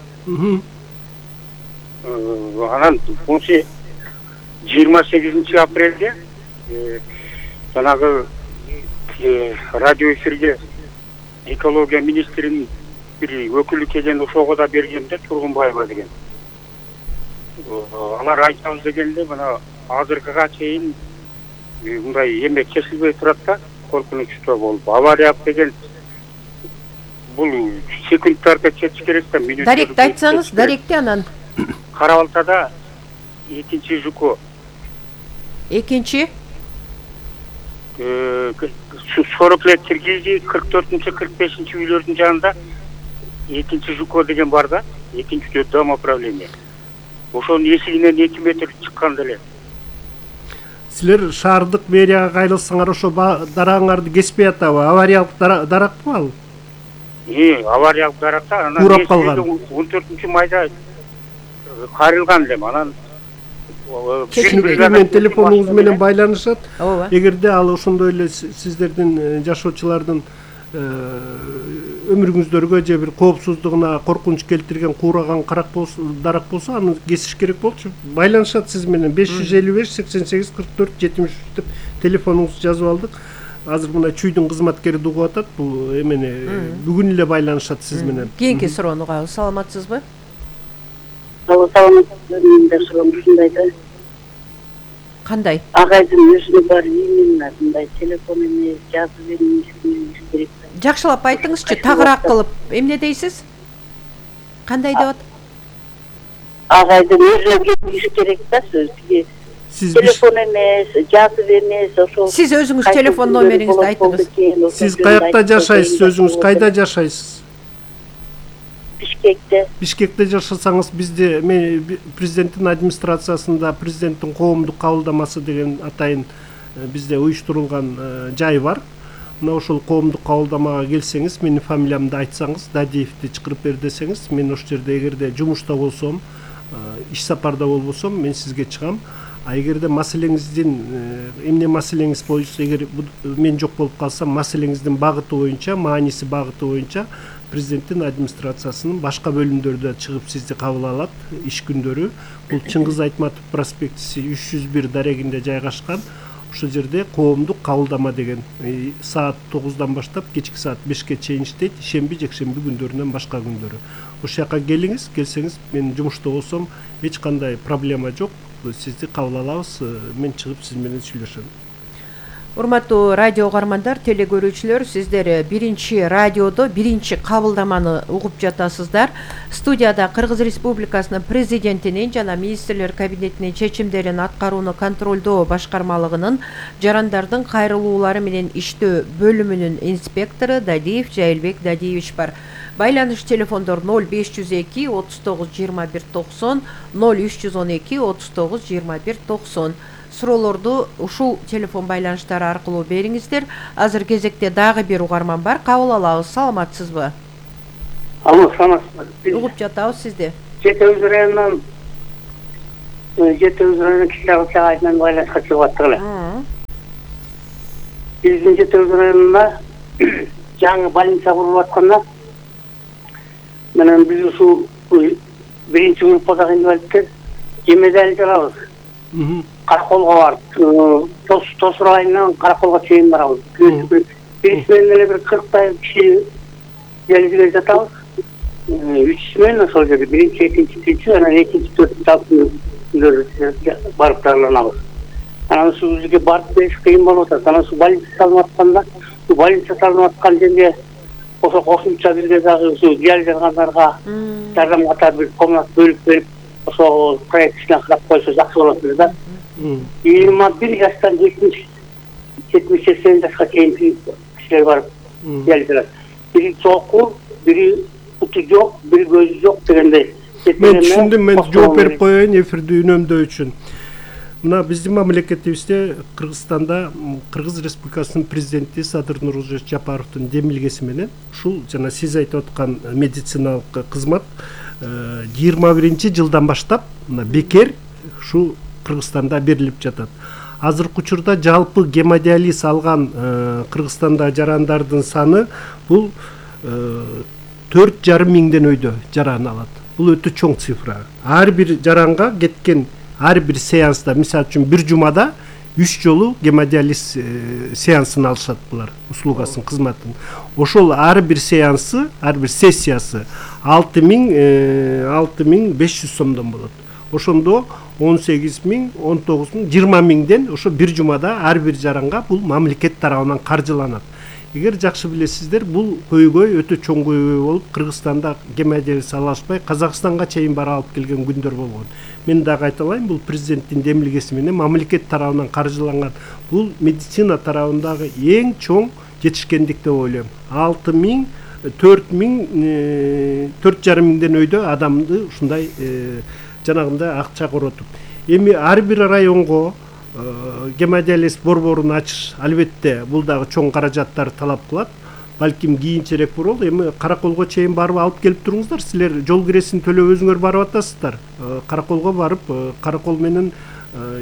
Анан 28 апрелде жанагы радио эфирге экология министринин бир өкүлү келген, ошого да бергенде Тургунбаева деген. Алар айтабыз дегенде мына азыркыга чейин мындай эме кесилбей турат да, коркунучтуу болуп. Авария деген бул секундтарда кетиш керек да, мүнөттөр. Даректи айтсаңыз, даректи анан. Кара-Балтада 2-чи ЖК. Экинчи? 40 лет Киргизии 44-45 үйлөрдүн жанында 2-чи ЖК деген бар да, 2-чи домоуправление. Ошонун эсигинен 2 метр чыккан деле. Силер шаардык мэрияга кайрылсаңар, ошо дараңарды кеспей атабы? Авариялык даракпы ал? Авариялык даракта, анан урап калган. 14 майда кайрылган элем. Анан мен телефонуңуз менен байланышат. Эгерде ал ошондой эле сиздердин жашоочулардын өмүрүңүздөргө же бир коопсуздугуна коркунуч келтирген куураган дарак болсо, аны кесиш керек болчу. Байланышат сиз менен 555 88 44 73 деп телефонуңузду жазып алдык. Азыр мына чүйдүн кызматкери угуп атат, бул эмени бүгүн эле байланышат сиз менен. Кийинки суроону угабыз. Саламатсызбы? Ушундай да. Кандай? Агайдын өзүнө бар именно мындай телефон эмес, жазып бериңиз керек. Жакшылап айтыңызчы, тагыраак кылып. Эмне дейсиз? Кандай деп атат? Агайдын өзүнө келиш керек да сөзгө. Телефон эмес, жазып эмес, ошол. Сиз өзүңүз телефон номериңизди айтыңыз. Сиз каякта жашайсыз, өзүңүз кайда жашайсыз? Бишкекте. Бишкекте жашасаңыз, бизде президенттин администрациясында президенттин коомдук кабылдамасы деген атайын бизде уюштурулган жай бар. Мына ошол коомдук кабылдамага келсеңиз, менин фамилиямды айтсаңыз, Дадиевди чакырып бер десеңиз, мен ошол жерде эгерде жумушта болсом, иш сапарда болбосом, мен сизге чыгам. Эгерде маселеңиздин эмне маселеңиз боюнча, эгер мен жок болуп калсам, маселеңиздин багыты боюнча, мааниси багыты боюнча президенттин администрациясынын башка бөлүмдөрү чыгып сизди кабыл алат иш күндөрү. Бул Чыңгыз Айтматов проспектиси 301 дарегинде жайгашкан. ошол жерде коомдук кабылдама деген саат 9-дан баштап кечки саат 5-ке чейин иштейт, ишемби жекшемби күндөрүнөн башка күндөрү. Ошол жака келиңиз, келсеңиз мен жумушта болсом эч кандай проблема жок, сизди кабыл алабыз, мен чыгып сиз менен сүйлөшөм. Урматтуу радио угармандар, теле көрүүчүлөр, сиздер биринчи радиодо биринчи кабылдаманы угуп жатасыздар. Студияда Кыргыз Республикасынын президентинин жана министрлер кабинетинин чечимдерин аткарууну контролдоо башкармалыгынын жарандардын кайрылуулары менен иштөө бөлүмүнүн инспектору Дадиев Жайылбек Дадиевич бар. Байланыш телефондор 0502 39 21 90, 0312 39 21 90. Суроолорду ушул телефон байланыштары аркылуу бериңиздер. Азыр кезекте дагы бир угарман бар. Кабыл алабыз. Саламатсызбы? Алло, саламатсызбы. Угуп жатабыз сизди. Жети Өз районунан Кичи айынан байланышка чыгып аттык эле. Биздин Жети Өз районунда жаңы больница курулуп атканда менен биз ушул биринчи группадагы инвалидтер жемедали жалабыз. Караколго барып, Тосур айынан Караколго чейин барабыз. Биринчи менен эле бир 40 киши желиге жатабыз. Үчүсү менен ошол жерде биринчи, экинчи, үчүнчү, анан экинчи, төртүнчү күндөрү барып дарыланабыз. Анан ушул жерге барып бериш кыйын болуп атат. Анан ушул больница салынып атканда, ушул больница салынып аткан жерге ошо кошумча бирге дагы ушул жалгандарга жардам катары бир комнат бөлүп берип, ошо проектисине карап койсо жакшы болот эле да. 21 жаштан 70-80 жашка чейинки кишилер барып жалганат. Бири чоку, бири буту жок, бири көзү жок дегендей. Мен түшүндүм, мен жооп берип коеюн эфирди үнөмдөө үчүн. Мына биздин мамлекетибизде Кыргызстанда Кыргыз Республикасынын президенти Садыр Нурулжапарович Жапаровдун демилгеси менен ушул жана сиз айтып аткан медициналык кызмат 21-жылдан баштап мына бекер ушу Кыргызстанда берилип жатат. Азыркы учурда жалпы гемодиализ алган Кыргызстанда жарандардын саны бул 4,5 миңден өйдө жаран алат. Бул өтө чоң цифра. Ар бир жаранга кеткен ар бир сеанста, мисалы үчүн бир жумада 3 жолу гемодиализ сеансын алышат булар, услугасын, кызматын. Ошол ар бир сеансы, ар бир сессиясы 6,500 сомдон болот. Ошондо 18 миң, 19 миң, 20 миңден ошо бир жумада ар бир жаранга бул мамлекет тарабынан каржыланат. Эгер жакшы билесиздер, бул көйгөй өтө чоң көйгөй болуп, Кыргызстанда гемодиализ алышпай, Казакстанга чейин бара алып келген күндөр болгон. Мен дагы айталайын, бул президенттин демилгеси менен мамлекет тарабынан каржыланган. Бул медицина тарабындагы эң чоң жетишкендик деп ойлойм. 6 миң, 4 миң, 4,5 миңден өйдө адамды ушундай жанагындай акча коротуп. Эми ар бир районго гемодиализ борборун ачыш албетте бул дагы чоң каражаттар талап кылат. Балким кийинчерээк болот. Эми Караколго чейин барып алып келип туруңуздар. Силер жол киресин төлөп өзүңөр барып атасыздар. Караколго барып, Каракол менен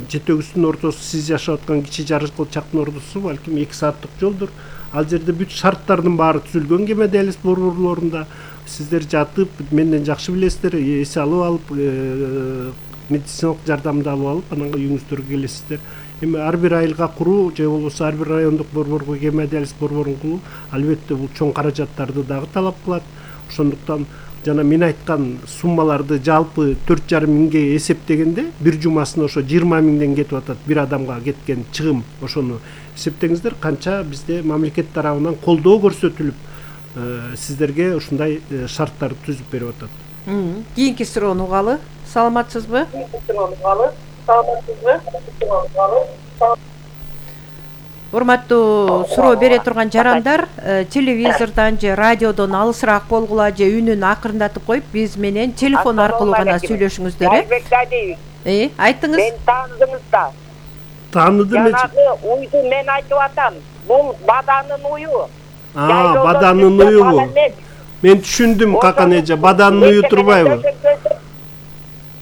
Жетөгүстүн ортосу, сиз жашап аткан Кичи Жарычкылчактын ортосу балким 2 сааттык жолдур. Ал жерде бүт шарттардын баары түзүлгөн гемодиализ борборлорунда. Сиздер жатып, менден жакшы билесиздер, эсе алып алып, медициналык жардамды алып алып, анан үйүңүздөргө келесиздер. Эми ар бир айылга куруу же болбосо ар бир райондук борборго гемодиализ борборун куруу албетте бул чоң каражаттарды дагы талап кылат. Ошондуктан жана мен айткан суммаларды жалпы 4,5 миңге эсептегенде бир жумасына ошо 20 миңден кетип атат бир адамга кеткен чыгым. Ошону эсептеңиздер, канча бизде мамлекет тарабынан колдоо көрсөтүлүп сиздерге ушундай шарттарды түзүп берип атат. Кийинки суроону угалы. Саламатсызбы? Урматтуу суроо бере турган жарандар, телевизордон же радиодон алысыраак болгула же үнүн акырындатып коюп, биз менен телефон аркылуу гана сүйлөшүңүздөр. Айттыңыз. Мен тааныдыңыз да. Тааныдым. Жанагы уйду мен айтып атам. Бул баданын уйу. Баданын уйу. Мен түшүндүм, какан эже, баданын уйу турбайбы?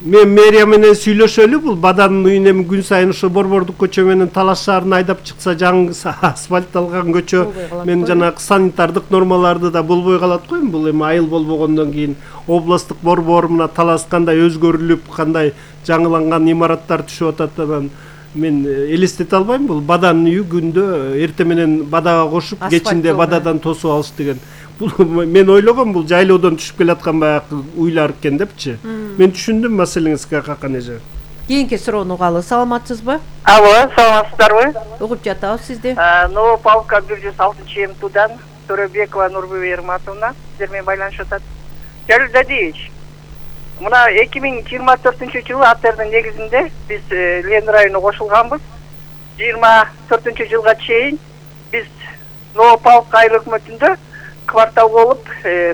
Мен мэрия менен сүйлөшөлү, бул баданын уйун эми күн сайын ошо борбордук көчө менен Талаш шаарына айдап чыкса, жаңы асфальтталган көчө мен жанагы санитардык нормаларды да болбой калат го. Бул эми айыл болбогондон кийин областтык борбор мына Талас кандай өзгөрүлүп, кандай жаңыланган имараттар түшүп атат, анан мен элестете албайм, бул баданын үйү күндө эртең менен бадага кошуп кечинде бададан тосуп алыш деген. Бул мен ойлогом бул жайлоодон түшүп келаткан баягы уйлар экен депчи. Мен түшүндүм маселеңизге какан эже. Кийинки суроону угалы. Саламатсызбы? Алло, саламатсыздарбы? Угуп жатабыз сизди. Новополка 106 МТУдан Төрөбекова Нурбү Ерматовна сиздер менен байланышып атат. Жалил Дадиевич, мына 2024-жылы апрелдин негизинде биз Лен районуна кошулганбыз. 24-жылга чейин биз Новополка айыл өкмөтүндө квартал болуп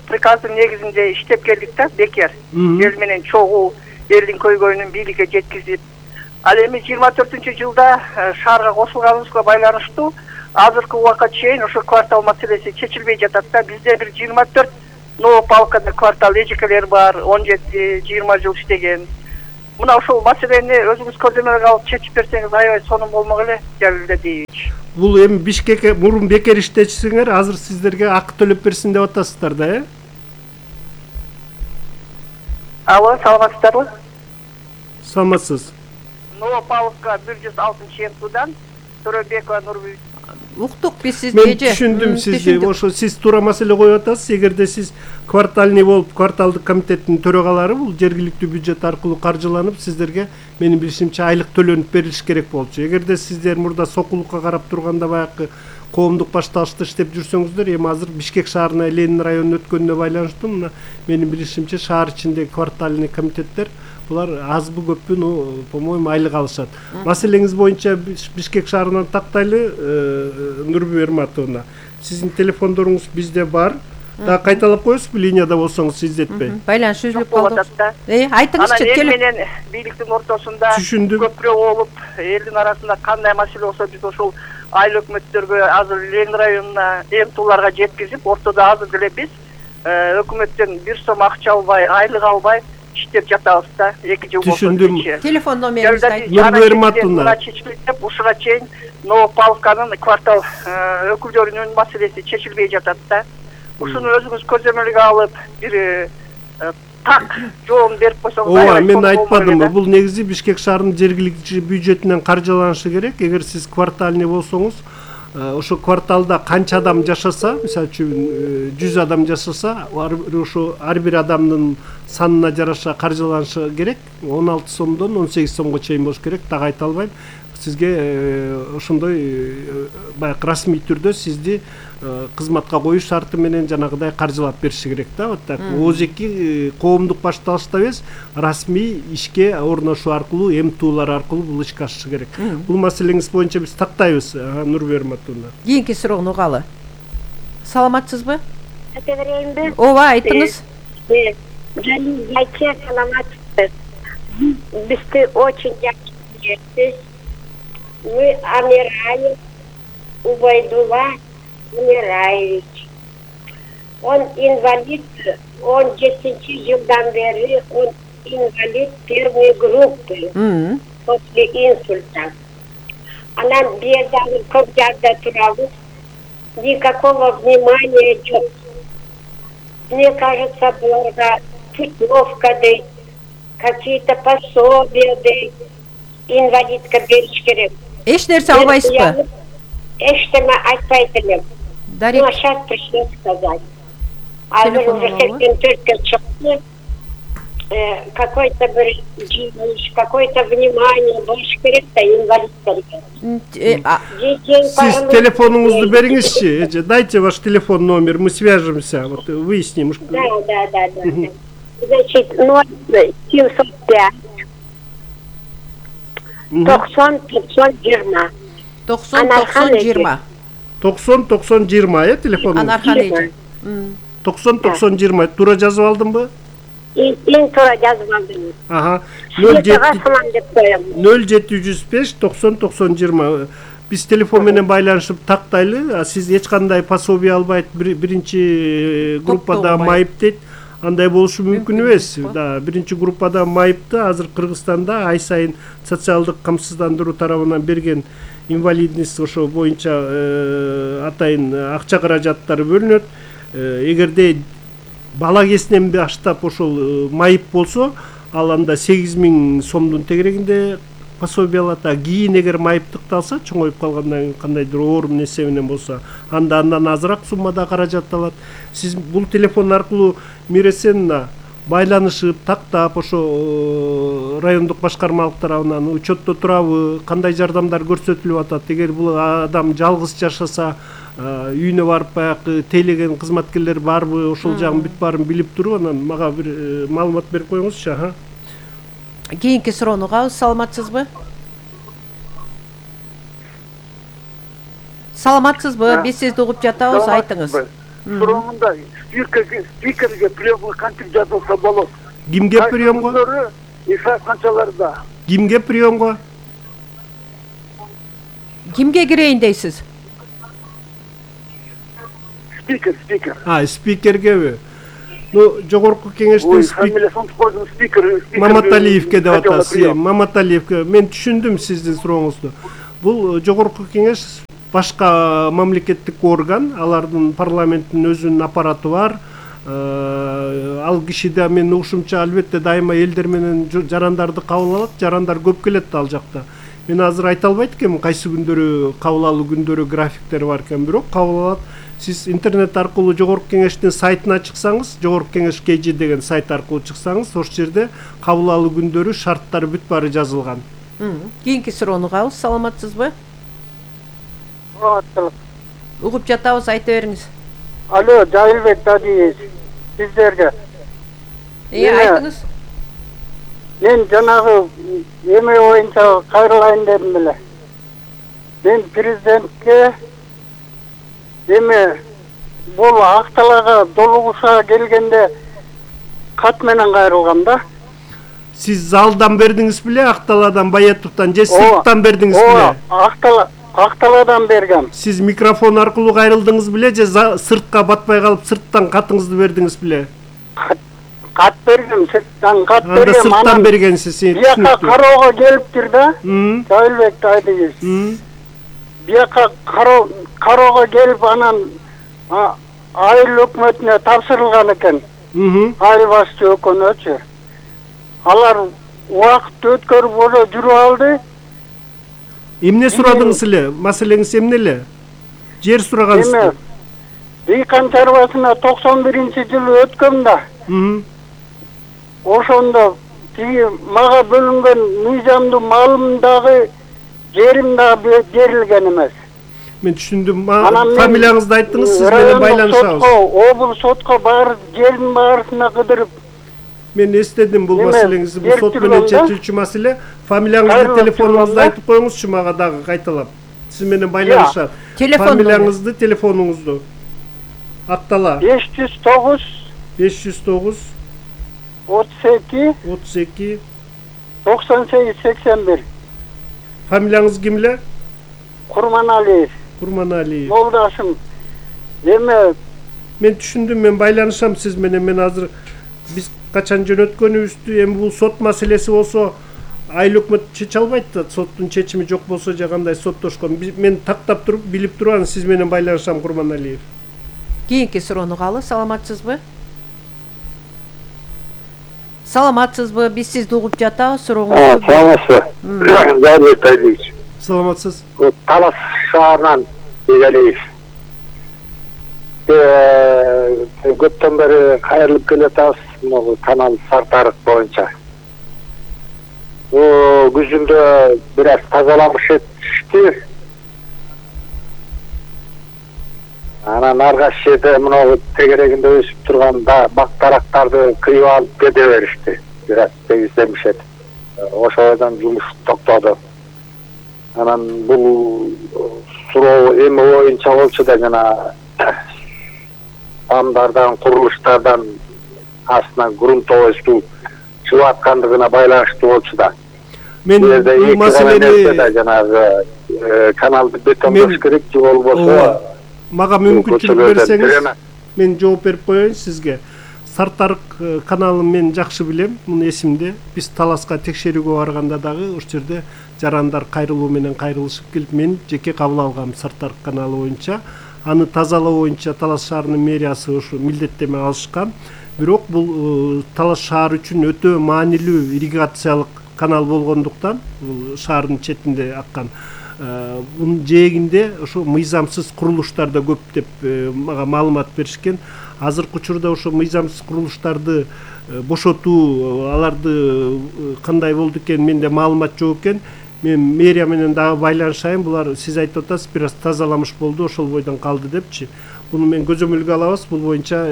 приказдын негизинде иштеп келдик да, бекер. Эл менен чогуу элдин көйгөйүнүн бийликке жеткизип. Ал эми 24-жылда шаарга кошулганыбызга байланыштуу азыркы убакка чейин ошо квартал маселеси чечилбей жатат да. Бизде бир 24 Новополкада квартал эжекелер бар, 17-20 жыл иштеген. Мына ошол маселени өзүңүз көзөмөлгө алып чечип берсеңиз аябай сонун болмок эле, Жалил Дадиевич. Бул эми Бишкекке мурун бекер иштечсеңер, азыр сиздерге акы төлөп берсин деп атасыздар да, э? Алло, саламатсыздарбы? Саламатсыз. Новополка 106 МТУдан Төрөбекова Нурбү. Уктук биз сизди. Мен түшүндүм сизди. Ошо сиз туура маселе коюп атасыз. Эгерде сиз квартальный болуп, кварталдык комитеттин төрөгалары бул жергиликтүү бюджет аркылуу каржыланып, сиздерге менин билишимче айлык төлөнүп берилиш керек болчу. Эгерде сиздер мурда сокулукка карап турганда баягы коомдук башталышта иштеп жүрсөңүздөр, эми азыр Бишкек шаарына Ленин районуна өткөнүнө байланыштуу мына менин билишимче шаар ичиндеги квартальный комитеттер булар азбы көппү, по-моему, айлык алышат. Маселеңиз боюнча Бишкек шаарынан тактайлы, Нурбү Ерматовна. Сиздин телефондоруңуз бизде бар. Да кайталап коесузбу, линияда болсоңуз издетпей. Байланыш үзүлүп калды. Айтыңызчы, эл менен бийликтин ортосунда көпүрө болуп, элдин арасында кандай маселе болсо биз ошол айыл өкмөттөргө азыр Ленин районуна МТУларга жеткизип, ортодо азыр деле биз өкмөттөн бир сом акча албай, айлык албай иштеп жатабыз да. 2 жыл болду. Түшүндүм. Телефон номеринизди айтыңыз. Нурбү Ерматовна. Ушуга чейин Новополканын квартал өкүлдөрүнүн маселеси чечилбей жатат да. Ушуну өзүңүз көзөмөлгө алып, бир так жооп берип койсоңуз. Ооба, мен айтпадымбы, бул негизи Бишкек шаарынын жергиликтүү бюджетинен каржыланышы керек. Эгер сиз квартальный болсоңуз, ошо кварталда канча адам жашаса, мисалы үчүн 100 адам жашаса, ошо ар бир адамдын санына жараша каржыланышы керек. 16 сомдон 18 сомго чейин болуш керек, так айта албайм. Сизге ошондой баягы расмий түрдө сизди кызматка коюш шарты менен жанагыдай каржылап бериши керек да. Вот так. ОЗЭКи коомдук башталышта эмес, расмий ишке орношуу аркылуу, МТУлар аркылуу бул ишке ашышы керек. Бул маселеңиз боюнча биз тактайбыз, Нурбү Ерматовна. Кийинки суроону угалы. Саламатсызбы? Айта берейинби? Ооба, айтыңыз. Жалил Айче, саламатсыз. Бизди очень жакшы билесиз. Мы Амираев Убайдулла Амираевич. Он инвалид, он 10 жылдан бери, он инвалид первой группы после инсульта. Анан бедами көп жакта турабыз, никакого внимания жоқ. Мне кажется, буларга путевка дейт, какие-то пособия дейт, инвалидка бериш керек. Эч нерсе албайсызбы? Эчтеме айтпайт элем. Ну, сейчас пришлось сказать. Азыр уже 84-ке чыкты. Какой-то bir какое-то внимание болуш керек да инвалидтерге. Сиз телефонуңузду бериңизчи. Дайте ваш телефон номер, мы свяжемся, вот выясним. Да. Значит, 0705 90-90-20. 90-90-20. 90-90-20, телефон. Анархан эже. 90-90-20. Туура жазып алдымбы? Эң туура жазып алдым. Ага. 0705 90-90-20. Биз телефон менен байланышып тактайлы. Сиз эч кандай пособие албайт, биринчи группада майып дейт. Андай болушу мүмкүн эмес. Да, биринчи группада майыпты азыр Кыргызстанда ай сайын социалдык камсыздандыруу тарабынан берген инвалидность ошо боюнча атайын акча каражаттары бөлүнөт. Эгерде бала кезинен баштап ошол майып болсо, ал анда 8.000 сомдун тегерегинде пособие алат. Кийин эгер майып тыкталса, чоңоюп калгандан кийин кандайдыр оорум нерсе менен болсо, андан азыраак суммада каражат алат. Сиз бул телефон аркылуу Миресенна байланышып, тактап, ошо райондук башкармалык тарабынан учетто турабы, кандай жардамдар көрсөтүлүп атат. Эгер бул адам жалгыз жашаса, үйүнө барып баягы тейлеген кызматкерлер барбы, ошол жагын бүт баарын билип туруп, анан мага бир маалымат берип коюңузчу. Кийинки суроону угабыз. Саламатсызбы? Саламатсызбы? Биз сизди угуп жатабыз, айтыңыз. Сурооңда спикерге приемга кантип жазылса болот? Кимге приемго? Исаев канчаларда. Кимге приемго? Кимге кирейин дейсиз? Спикер. Спикергеби? Жогорку кеңештин спикер Маматалиевке деп атасыз. Маматалиевке. Мен түшүндүм сиздин сурооңузду. Бул жогорку кеңеш башка мамлекеттик орган, алардын парламенттин өзүнүн аппараты бар. Ал кишиде мен угушумча албетте дайыма элдер менен жарандарды кабыл алат, жарандар көп келет ал жакта. Мен азыр айта албайт экенмин кайсы күндөрү кабыл алуу күндөрү графиктери бар экен, бирок кабыл алат. Сиз интернет аркылуу жогорку кеңештин сайтына чыксаңыз, жогорку кеңеш KG деген сайт аркылуу чыксаңыз, ошол жерде кабыл алуу күндөрү, шарттары бүт баары жазылган. Кийинки суроону угабыз. Саламатсызбы? Саламатсызбы. Угуп жатабыз, айта бериңиз. Алло, Жайылбек Тадиев, сиздерге. Айтыңыз. Мен жанагы эме боюнча кайрылайын дедим беле. Мен президентке эме бул Акталага долугушага келгенде кат менен кайрылгам да. Сиз залдан бердиңиз беле, Акталадан, Баятовдон же сырттан бердиңиз беле? Акталадан бергем. Сиз микрофон аркылуу кайрылдыңыз беле же сыртка батпай калып сырттан катыңызды бердиңиз беле? Кат бергем, сырттан кат бергем. Анда сырттан бергенсиз. Бияка кароого келиптир да. Жайылбек Тадиев. Бияка кароого келип анан айыл өкмөтүнө тапшырылган экен. Айыл башчы өкмөтүнөчү. Алар убакыт өткөрүп ошо жүрүп алды. Эмне сурадыңыз эле? Маселеңиз эмне эле? Жер сурагансызбы? Дыйкан чарбасына 91-жылы өткөм да. Ошондо тиги мага бөлүнгөн мыйзамдуу малым дагы жерим дагы берилген эмес. Мен түшүндүм. Фамилияңызды айттыңыз, сиз менен байланышабыз. Облус сотко барып, жердин баарысына кыдырып. Мен эстедим бул маселеңизди, бул сот менен чечилчү маселе. Фамилияңызды, телефонуңузду айтып коюңузчу мага дагы кайталап. Сиз менен байланышат. Фамилияңызды, телефонуңузду. Актала. 509 32 98 81. Фамилияңыз ким эле? Курманалиев. Жолдашым. Эме мен түшүндүм, мен байланышам сиз менен. Мен азыр биз качан жөнөткөнүбүздү, эми бул сот маселеси болсо айыл өкмөт чече албайт да, соттун чечими жок болсо же кандай соттошкон. Мен тактап туруп, билип турам, сиз менен байланышам, Курманалиев. Кийинки суроону угалы. Саламатсызбы? Саламатсызбы? Биз сизди угуп жатабыз, сурооңузду. Саламатсызбы? Жайылбек Тадиевич. Саламатсыз. Талас шаарынан Бегалиев. Көптөн бери кайрылып келатабыз, могу канал Сартарык боюнча. Күзүндө бир аз тазаламыш этишти. Анан аргаш жерде мына тегерегинде өсүп турган бак-дарактарды кыйып алып кете беришти. Бир аз тегизлемишет. Ошодон жумуш токтоду. Анан бул суроо эми боюнча болчу да, жана амдардан, курулуштардан астынан грунтовоздуу чыгып аткандыгына байланыштуу болчу да. Мен бул маселени жанагы каналды бетондош керек же болбосо мага мүмкүнчүлүк берсеңиз, мен жооп берип коеюн сизге. Сартарык каналын мен жакшы билем, муну эсимде. Биз Таласка текшерүүгө барганда дагы ошол жерде жарандар кайрылуу менен кайрылышып келип, мен жеке кабыл алгам Сартарык каналы боюнча. Аны тазалоо боюнча Талас шаарынын мэриясы ушу милдеттеме алышкан. Бирок бул Талас шаары үчүн өтө маанилүү ирригациялык канал болгондуктан бул шаардын четинде аккан бунун жээгинде ошо мыйзамсыз курулуштар да көп деп мага маалымат беришкен. Азыркы учурда ошо мыйзамсыз курулуштарды бошотуу, аларды кандай болду экен менде маалымат жок экен. Мен мэрия менен дагы байланышайын. Булар сиз айтып атасыз, бир аз тазаламыш болду, ошол бойдон калды депчи. Буну мен көзөмөлгө алабыз. Бул боюнча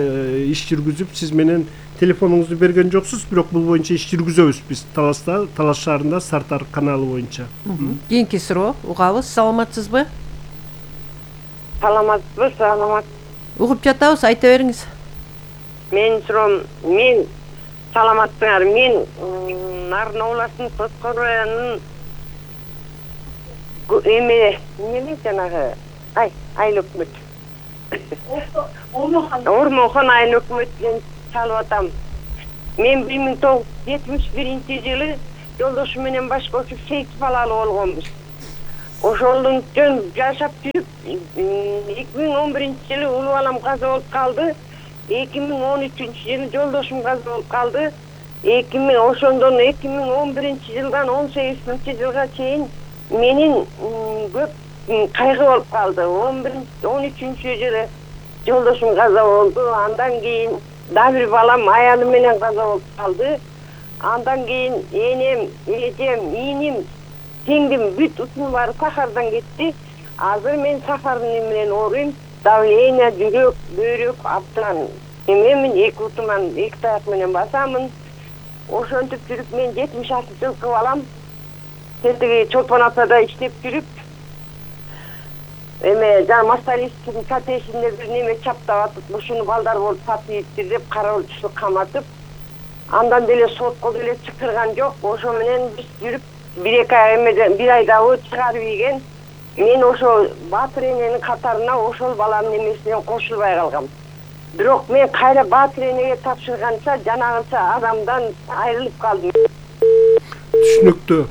иш жүргүзүп, сиз менен телефонуңузду берген жоксуз, бирок бул боюнча иш жүргүзөбүз биз Талас шаарында Сартар каналы боюнча. Кийинки суроо угабыз. Саламатсызбы? Саламатсызбы? Саламат. Угуп жатабыз, айта бериңиз. Мен суроом, мен саламатсыңар. Мен Нарын областынын Тоскор районунун эмне жанагы айыл өкмөт. Ормонхон айыл өкмөтүнөн чалып атам. Мен 1971-жылы жолдошум менен баш кошуп 8 балалуу болгонбуз. Ошолдон жөн жашап жүрүп 2011-жылы улуу балам каза болуп калды. 2013-жылы жолдошум каза болуп калды. Ошондон 2011-жылдан 18-жылга чейин менин көп кайгы болуп калды. 13-жылы жолдошум каза болду. Андан кийин дагы бир балам аялы менен каза болуп калды. Андан кийин энем, эжем, ийним, теңдим бүт утум баары сахардан кетти. Азыр мен сахардын менен ооруйм. Давление, жүрөк, бөйрөк абдан. Мен 2 утуман 2 таяк менен басамын. Ошентип жүрүп мен 76 жылкы балам. Тетиги Чолпон атада иштеп жүрүп, Масталистин коттеджинде бир неме чаптап атып, ушуну балдар болуп сатыптыр деп кароолчулук каматып, андан деле сотко деле чакырган жок. Ошо менен биз жүрүп, 1 айда чыгарып ийген. Мен ошо Батыр эненин катарына ошол баламдын эмесинен кошулбай калгам. Бирок мен кайра Батыр энеге тапшырганча жанагынча адамдан айрылып калдым. Түшүнүктүү.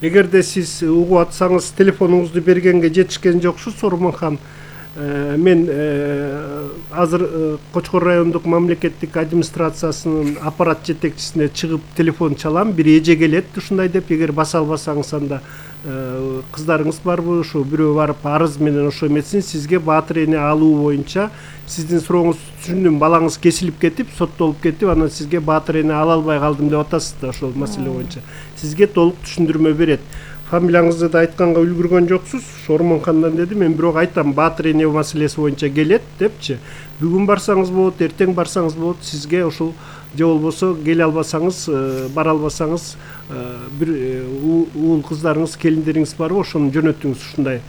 Эгерде сиз угуп атсаңыз, телефонуңузду бергенге жетишкен жоксуз, Ормонхон. Мен азыр Кочкор райондук мамлекеттик администрациясынын аппарат жетекчисине чыгып телефон чалам. Бир эже келет ушундай деп, эгер баса албасаңыз анда кыздарыңыз барбы, ушу бирөө барып арыз менен ошо эметсин, сизге Батыр эне алуу боюнча сиздин сурооңузду түшүндүм. Балаңыз кесилип кетип, соттолуп кетип, анан сизге Батыр эне ала албай калдым деп атасыз да ошол маселе боюнча. Сизге толук түшүндүрмө берет. Фамилияңызды да айтканга үлгүргөн жоксуз. Ормонхондан деди, мен бирок айтам, Батыр эне маселеси боюнча келет депчи. Бүгүн барсаңыз болот, эртең барсаңыз болот, сизге ошол же болбосо келе албасаңыз, бара албасаңыз, бир уул кыздарыңыз, келиндериңиз барбы, ошону жөнөтүңүз. Ушундай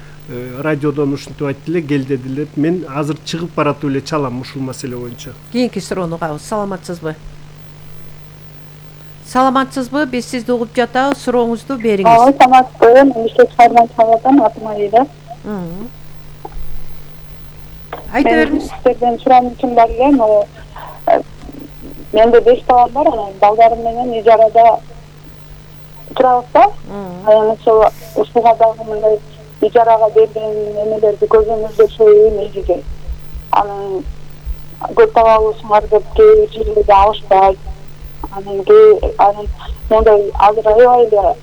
радиодон ушинтип айтты эле, кел деди эле. Мен азыр чыгып баратып эле чалам ушул маселе боюнча. Кийинки суроону угабыз. Саламатсызбы? Саламатсызбы? Биз сизди угуп жатабыз. Сурооңузду бериңиз. Саламатсызбы? Мен иштеп чыгарман чалып атам, Айда. Айта бериңиз. Сиздерден суроом үчүн бар элем. Менде 5 балам бар, балдарым менен ижарада турабыз да. Ошол ушуга дагы мындай ижарага берген эмелерди көзөмөлдөп сөйлөйм эжеге. Анан көп балалуусуңар деп кээ жерлерде алышпайт. Анан мондай азыр аябай эле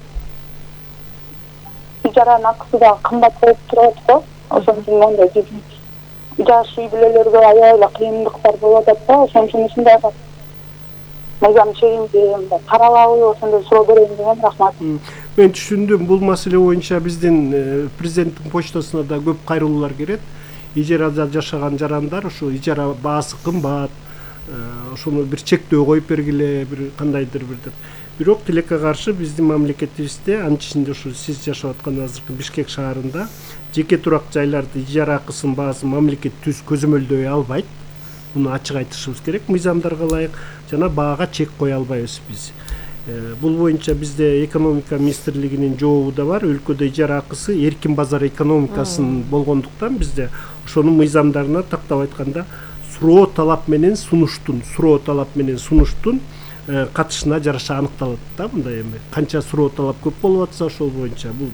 ижаранын акысы да кымбат болуп турат го. Ошон үчүн мондай жаш үй бүлөлөргө аябай эле кыйындыктар болуп атат да. Ошон үчүн ушундай мыйзам чегинде каралабы, ошондой суроо берейин деген. Рахмат. Мен түшүндүм. Бул маселе боюнча биздин президенттин почтасына да көп кайрылуулар келет. Ижарада жашаган жарандар ушу ижара баасы кымбат, ошону бир чектөө коюп бергиле, бир кандайдыр бир деп. Бирок тилекке каршы биздин мамлекетибизде, анын ичинде ушу сиз жашап аткан азыркы Бишкек шаарында жеке турак жайларды ижара акысын баасын мамлекет түз көзөмөлдөй албайт. Муну ачык айтышыбыз керек. Мыйзамдарга ылайык жана баага чек кое албайбыз биз. Бул боюнча бизде экономика министрлигинин жообу да бар. Өлкөдө ижара акысы эркин базар экономикасын болгондуктан бизде ошонун мыйзамдарына тактап айтканда суроо талап менен сунуштун катышына жараша аныкталат да. Мындай эми канча суроо талап көп болуп атса ошол боюнча бул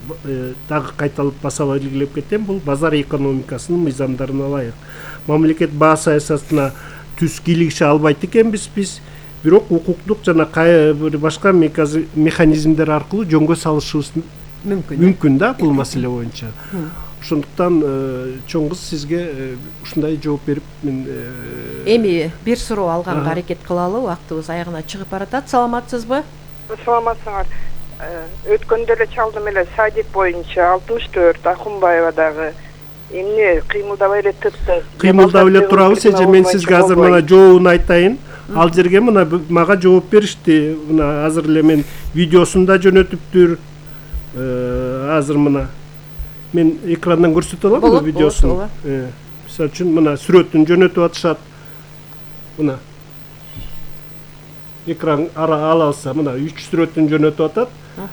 дагы кайталап баса белгилеп кетем. Бул базар экономикасынын мыйзамдарына ылайык. Мамлекет баа саясатына түз кийлигише албайт экенбиз биз. бирок укуктук жана бир башка механизмдер аркылуу жөнгө салышыбыз мүмкүн да бул маселе боюнча. Ошондуктан чоң кыз сизге ушундай жооп берип мен эми бир суроо алганга аракет кылалы, убактыбыз аягына чыгып баратат. Саламатсызбы? Саламатсыңар. Өткөндө эле чалдым эле садик боюнча 64 Акунбаевадагы эмне кыймылдабай эле тыпты. Кыймылдап эле турабыз, эже мен сизге азыр мына жообун айтайын. Ал жерге мына мага жооп беришти. Мына азыр эле мен видеосун да жөнөтүптүр. Азыр мына мен экрандан көрсөтө алам бул видеосун. Мисалы үчүн мына сүрөтүн жөнөтүп атышат. Мына экран алса мына 3 сүрөтүн жөнөтүп атат.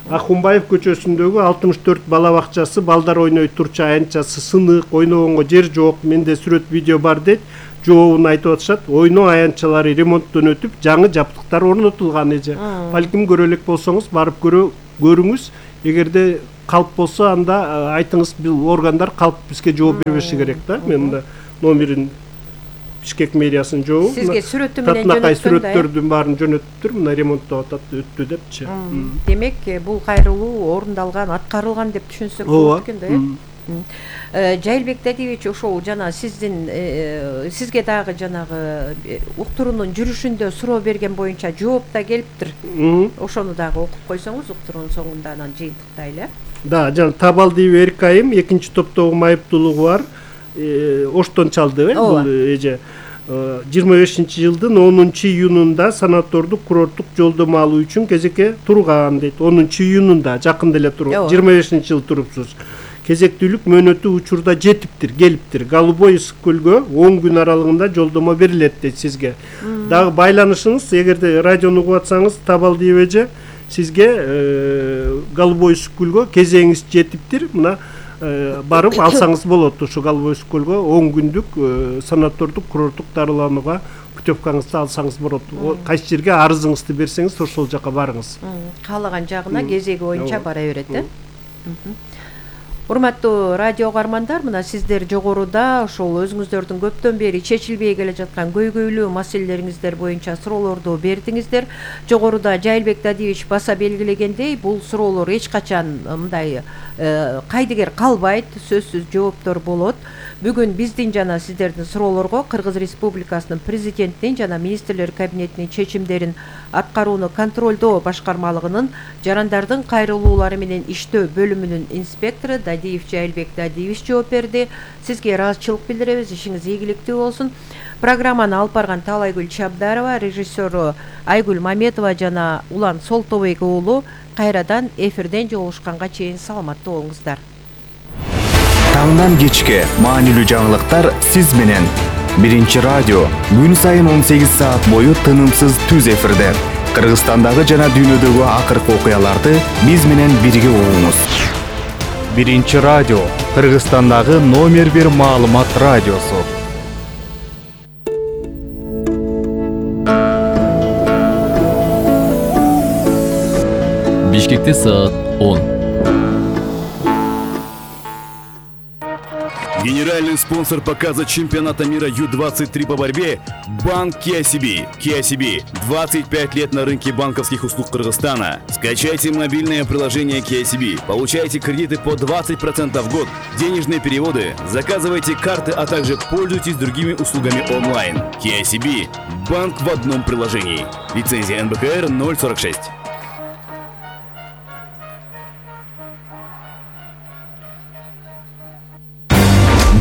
Акунбаев көчөсүндөгү 64 бала бакчасы, балдар ойной турчу аянтчасы сынык, ойногонго жер жок. Менде сүрөт видео бар дейт. Жообун айтып атышат. Ойноо аянтчалары ремонттон өтүп, жаңы жабдыктар орнотулган эже. Балким көрө элек болсоңуз барып көрүңүз. Эгерде калп болсо анда айтыңыз, бул органдар калп бизге жооп бербеши керек да. Мен мында номерин Бишкек мэриясынын жообу. Сизге сүрөтү менен жөнөткөн да. Сүрөттөрдүн баарын жөнөтүптүр. Мына ремонттоп атат, өттү депчи. Демек, бул кайрылуу орундалган, аткарылган деп түшүнсөк болот экен да, Жайылбек Дадиевич, ошол жана сизге дагы жанагы уктуруунун жүрүшүндө суроо берген боюнча жооп да келиптир. Ошону дагы окуп койсоңуз уктуруунун соңунда анан жыйынтыктайлы. Да, жана Табалдиев Эркайым экинчи топтогу майыптуулугу бар. Оштон чалды бул эже. 25-жылдын 10-июнунда санатордук курорттук жолдомо алуу үчүн кезекке турган дейт. 10-июнунда жакында эле туруп, 25-жыл турупсуз. Кезектүүлүк мөөнөтү учурда жетиптир, келиптир. Голубой ысык көлгө 10 күн аралыгында жолдомо берилет дейт сизге. Дагы байланышыңыз, эгерде радиону угуп атсаңыз, Табалдиев эже, сизге Голубой ысык көлгө кезегиңиз жетиптир. Мына барып алсаңыз болот. Ушу Голубой ысык көлгө 10 күндүк санатордук курорттук дарыланууга путевкаңызды алсаңыз болот. Кайсы жерге арызыңызды берсеңиз, ошол жака барыңыз. Каалаган жагына кезеги боюнча бара берет, Урматтуу радио угармандар, мына сиздер жогоруда ошол өзүңүздөрдүн көптөн бери чечилбей келе жаткан көйгөйлүү маселелериңиздер боюнча суроолорду бердиңиздер. Жогоруда Жайылбек Дадиевич баса белгилегендей, бул суроолор эч качан мындай кайдыгер калбайт, сөзсүз жооптор болот. Бүгүн биздин жана сиздердин суроолорго Кыргыз Республикасынын президентинин жана министрлер кабинетинин чечимдерин аткарууну контролдоо башкармалыгынын жарандардын кайрылуулары менен иштөө бөлүмүнүн инспектору Дадиев Жайылбек Дадиевич жооп берди. Сизге ыраазычылык билдиребиз, ишиңиз ийгиликтүү болсун. Программаны алып барган Талайгүл Чабдарова, режиссеру Айгүл Маметова жана Улан Солтобек уулу кайрадан эфирден жолугушканга чейин саламаттуу болуңуздар. Таңдан кечке маанилүү жаңылыктар сиз менен. Биринчи радио күн сайын 18 саат бою тынымсыз түз эфирде. Кыргызстандагы жана дүйнөдөгү акыркы окуяларды биз менен бирге угуңуз. Биринчи радио Кыргызстандагы номер 1 маалымат радиосу. Бишкекте саат 10. Генеральный спонсор показа чемпионата мира Ю-23 по борьбе – Банк KCB. KCB – 25 лет на рынке банковских услуг Кыргызстана. Скачайте мобильное приложение KCB, получайте кредиты по 20% в год, денежные переводы, заказывайте карты, а также пользуйтесь другими услугами онлайн. KCB – банк в одном приложении. Лицензия НБКР 046.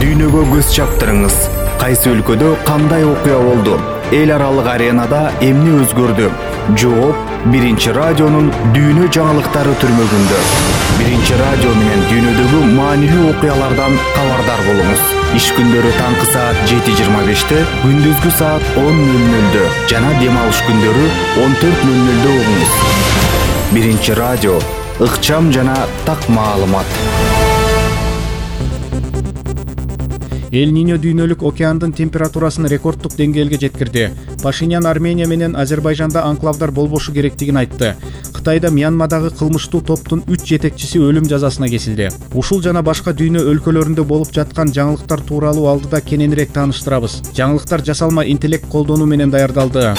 Дүйнөгө көз чаптырыңыз. Кайсы өлкөдө кандай окуя болду? Эл аралык аренада эмне өзгөрдү? Жооп Биринчи радионун дүйнө жаңылыктары түрмөгүндө. Биринчи радио менен дүйнөдөгү маанилүү окуялардан кабардар болуңуз. Иш күндөрү таңкы саат 7:25, күндүзгү саат 10:00 жана дем алыш күндөрү 14:00 угуңуз. Биринчи радио ыкчам жана так маалымат. Эль-Ниньо дүйнөлүк океандын температурасын рекордтук деңгээлге жеткирди. Пашинян Армения менен Азербайжанда анклавдар болбошу керектигин айтты. Кытайда Мьянмадагы кылмыштуу топтун 3 жетекчиси өлүм жазасына кесилди. Ушул жана башка дүйнө өлкөлөрүндө болуп жаткан жаңылыктар тууралуу алдыда кененирээк тааныштырабыз. Жаңылыктар жасалма интеллект колдонуу менен даярдалды.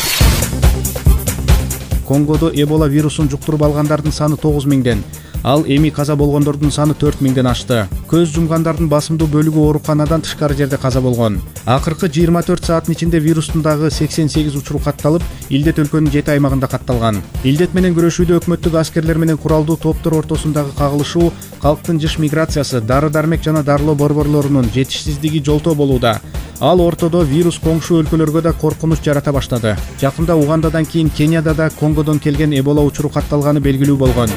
Конгодо Эбола вирусун жуктуруп алгандардын саны 9000ден, ал эми каза болгондордун саны 4000ден ашты. Көз жумгандардын басымдуу бөлүгү ооруканадан тышкары жерде каза болгон. Акыркы 24 сааттын ичинде вирустун дагы 88 учуру катталып, илдет өлкөнүн 7 аймагында катталган. Илдет менен күрөшүүдө өкмөттүк аскерлер менен куралдуу топтор ортосундагы кагылышуу, калктын жыш миграциясы, дары-дармек жана дарылоо борборлорунун жетишсиздиги жолтоо болууда. Ал ортодо вирус коңшу өлкөлөргө да коркунуч жарата баштады. Жакында Угандадан кийин Кенияда да Конгодон келген Эбола учуру катталганы белгилүү болгон.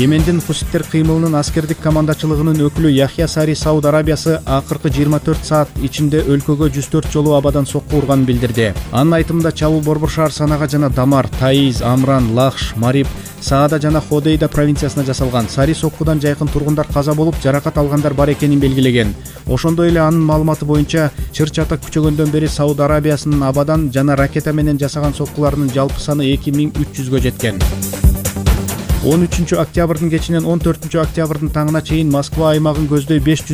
Йемендин Хуситтер кыймылынын аскердик командачылыгынын өкүлү Яхья Сари Сауд Арабиясы акыркы 24 саат ичинде өлкөгө 104 жолу абадан сокку урганын билдирди. Анын айтымында чабуул Борбор шаар Санага жана Дамар, Таиз, Амран, Лахш, Мариб, Саада жана Ходейда провинциясына жасалган. Сари соккудан жайкын тургундар каза болуп, жаракат алгандар бар экенин белгилеген. Ошондой эле анын маалыматы боюнча чыр-чатак күчөгөндөн бери Сауд Арабиясынын абадан жана ракета менен жасаган соккуларынын жалпы саны 2300гө жеткен. 13 октябрдын кечинен 14 октябрдын таңына чейин Москва аймагын көздөй 500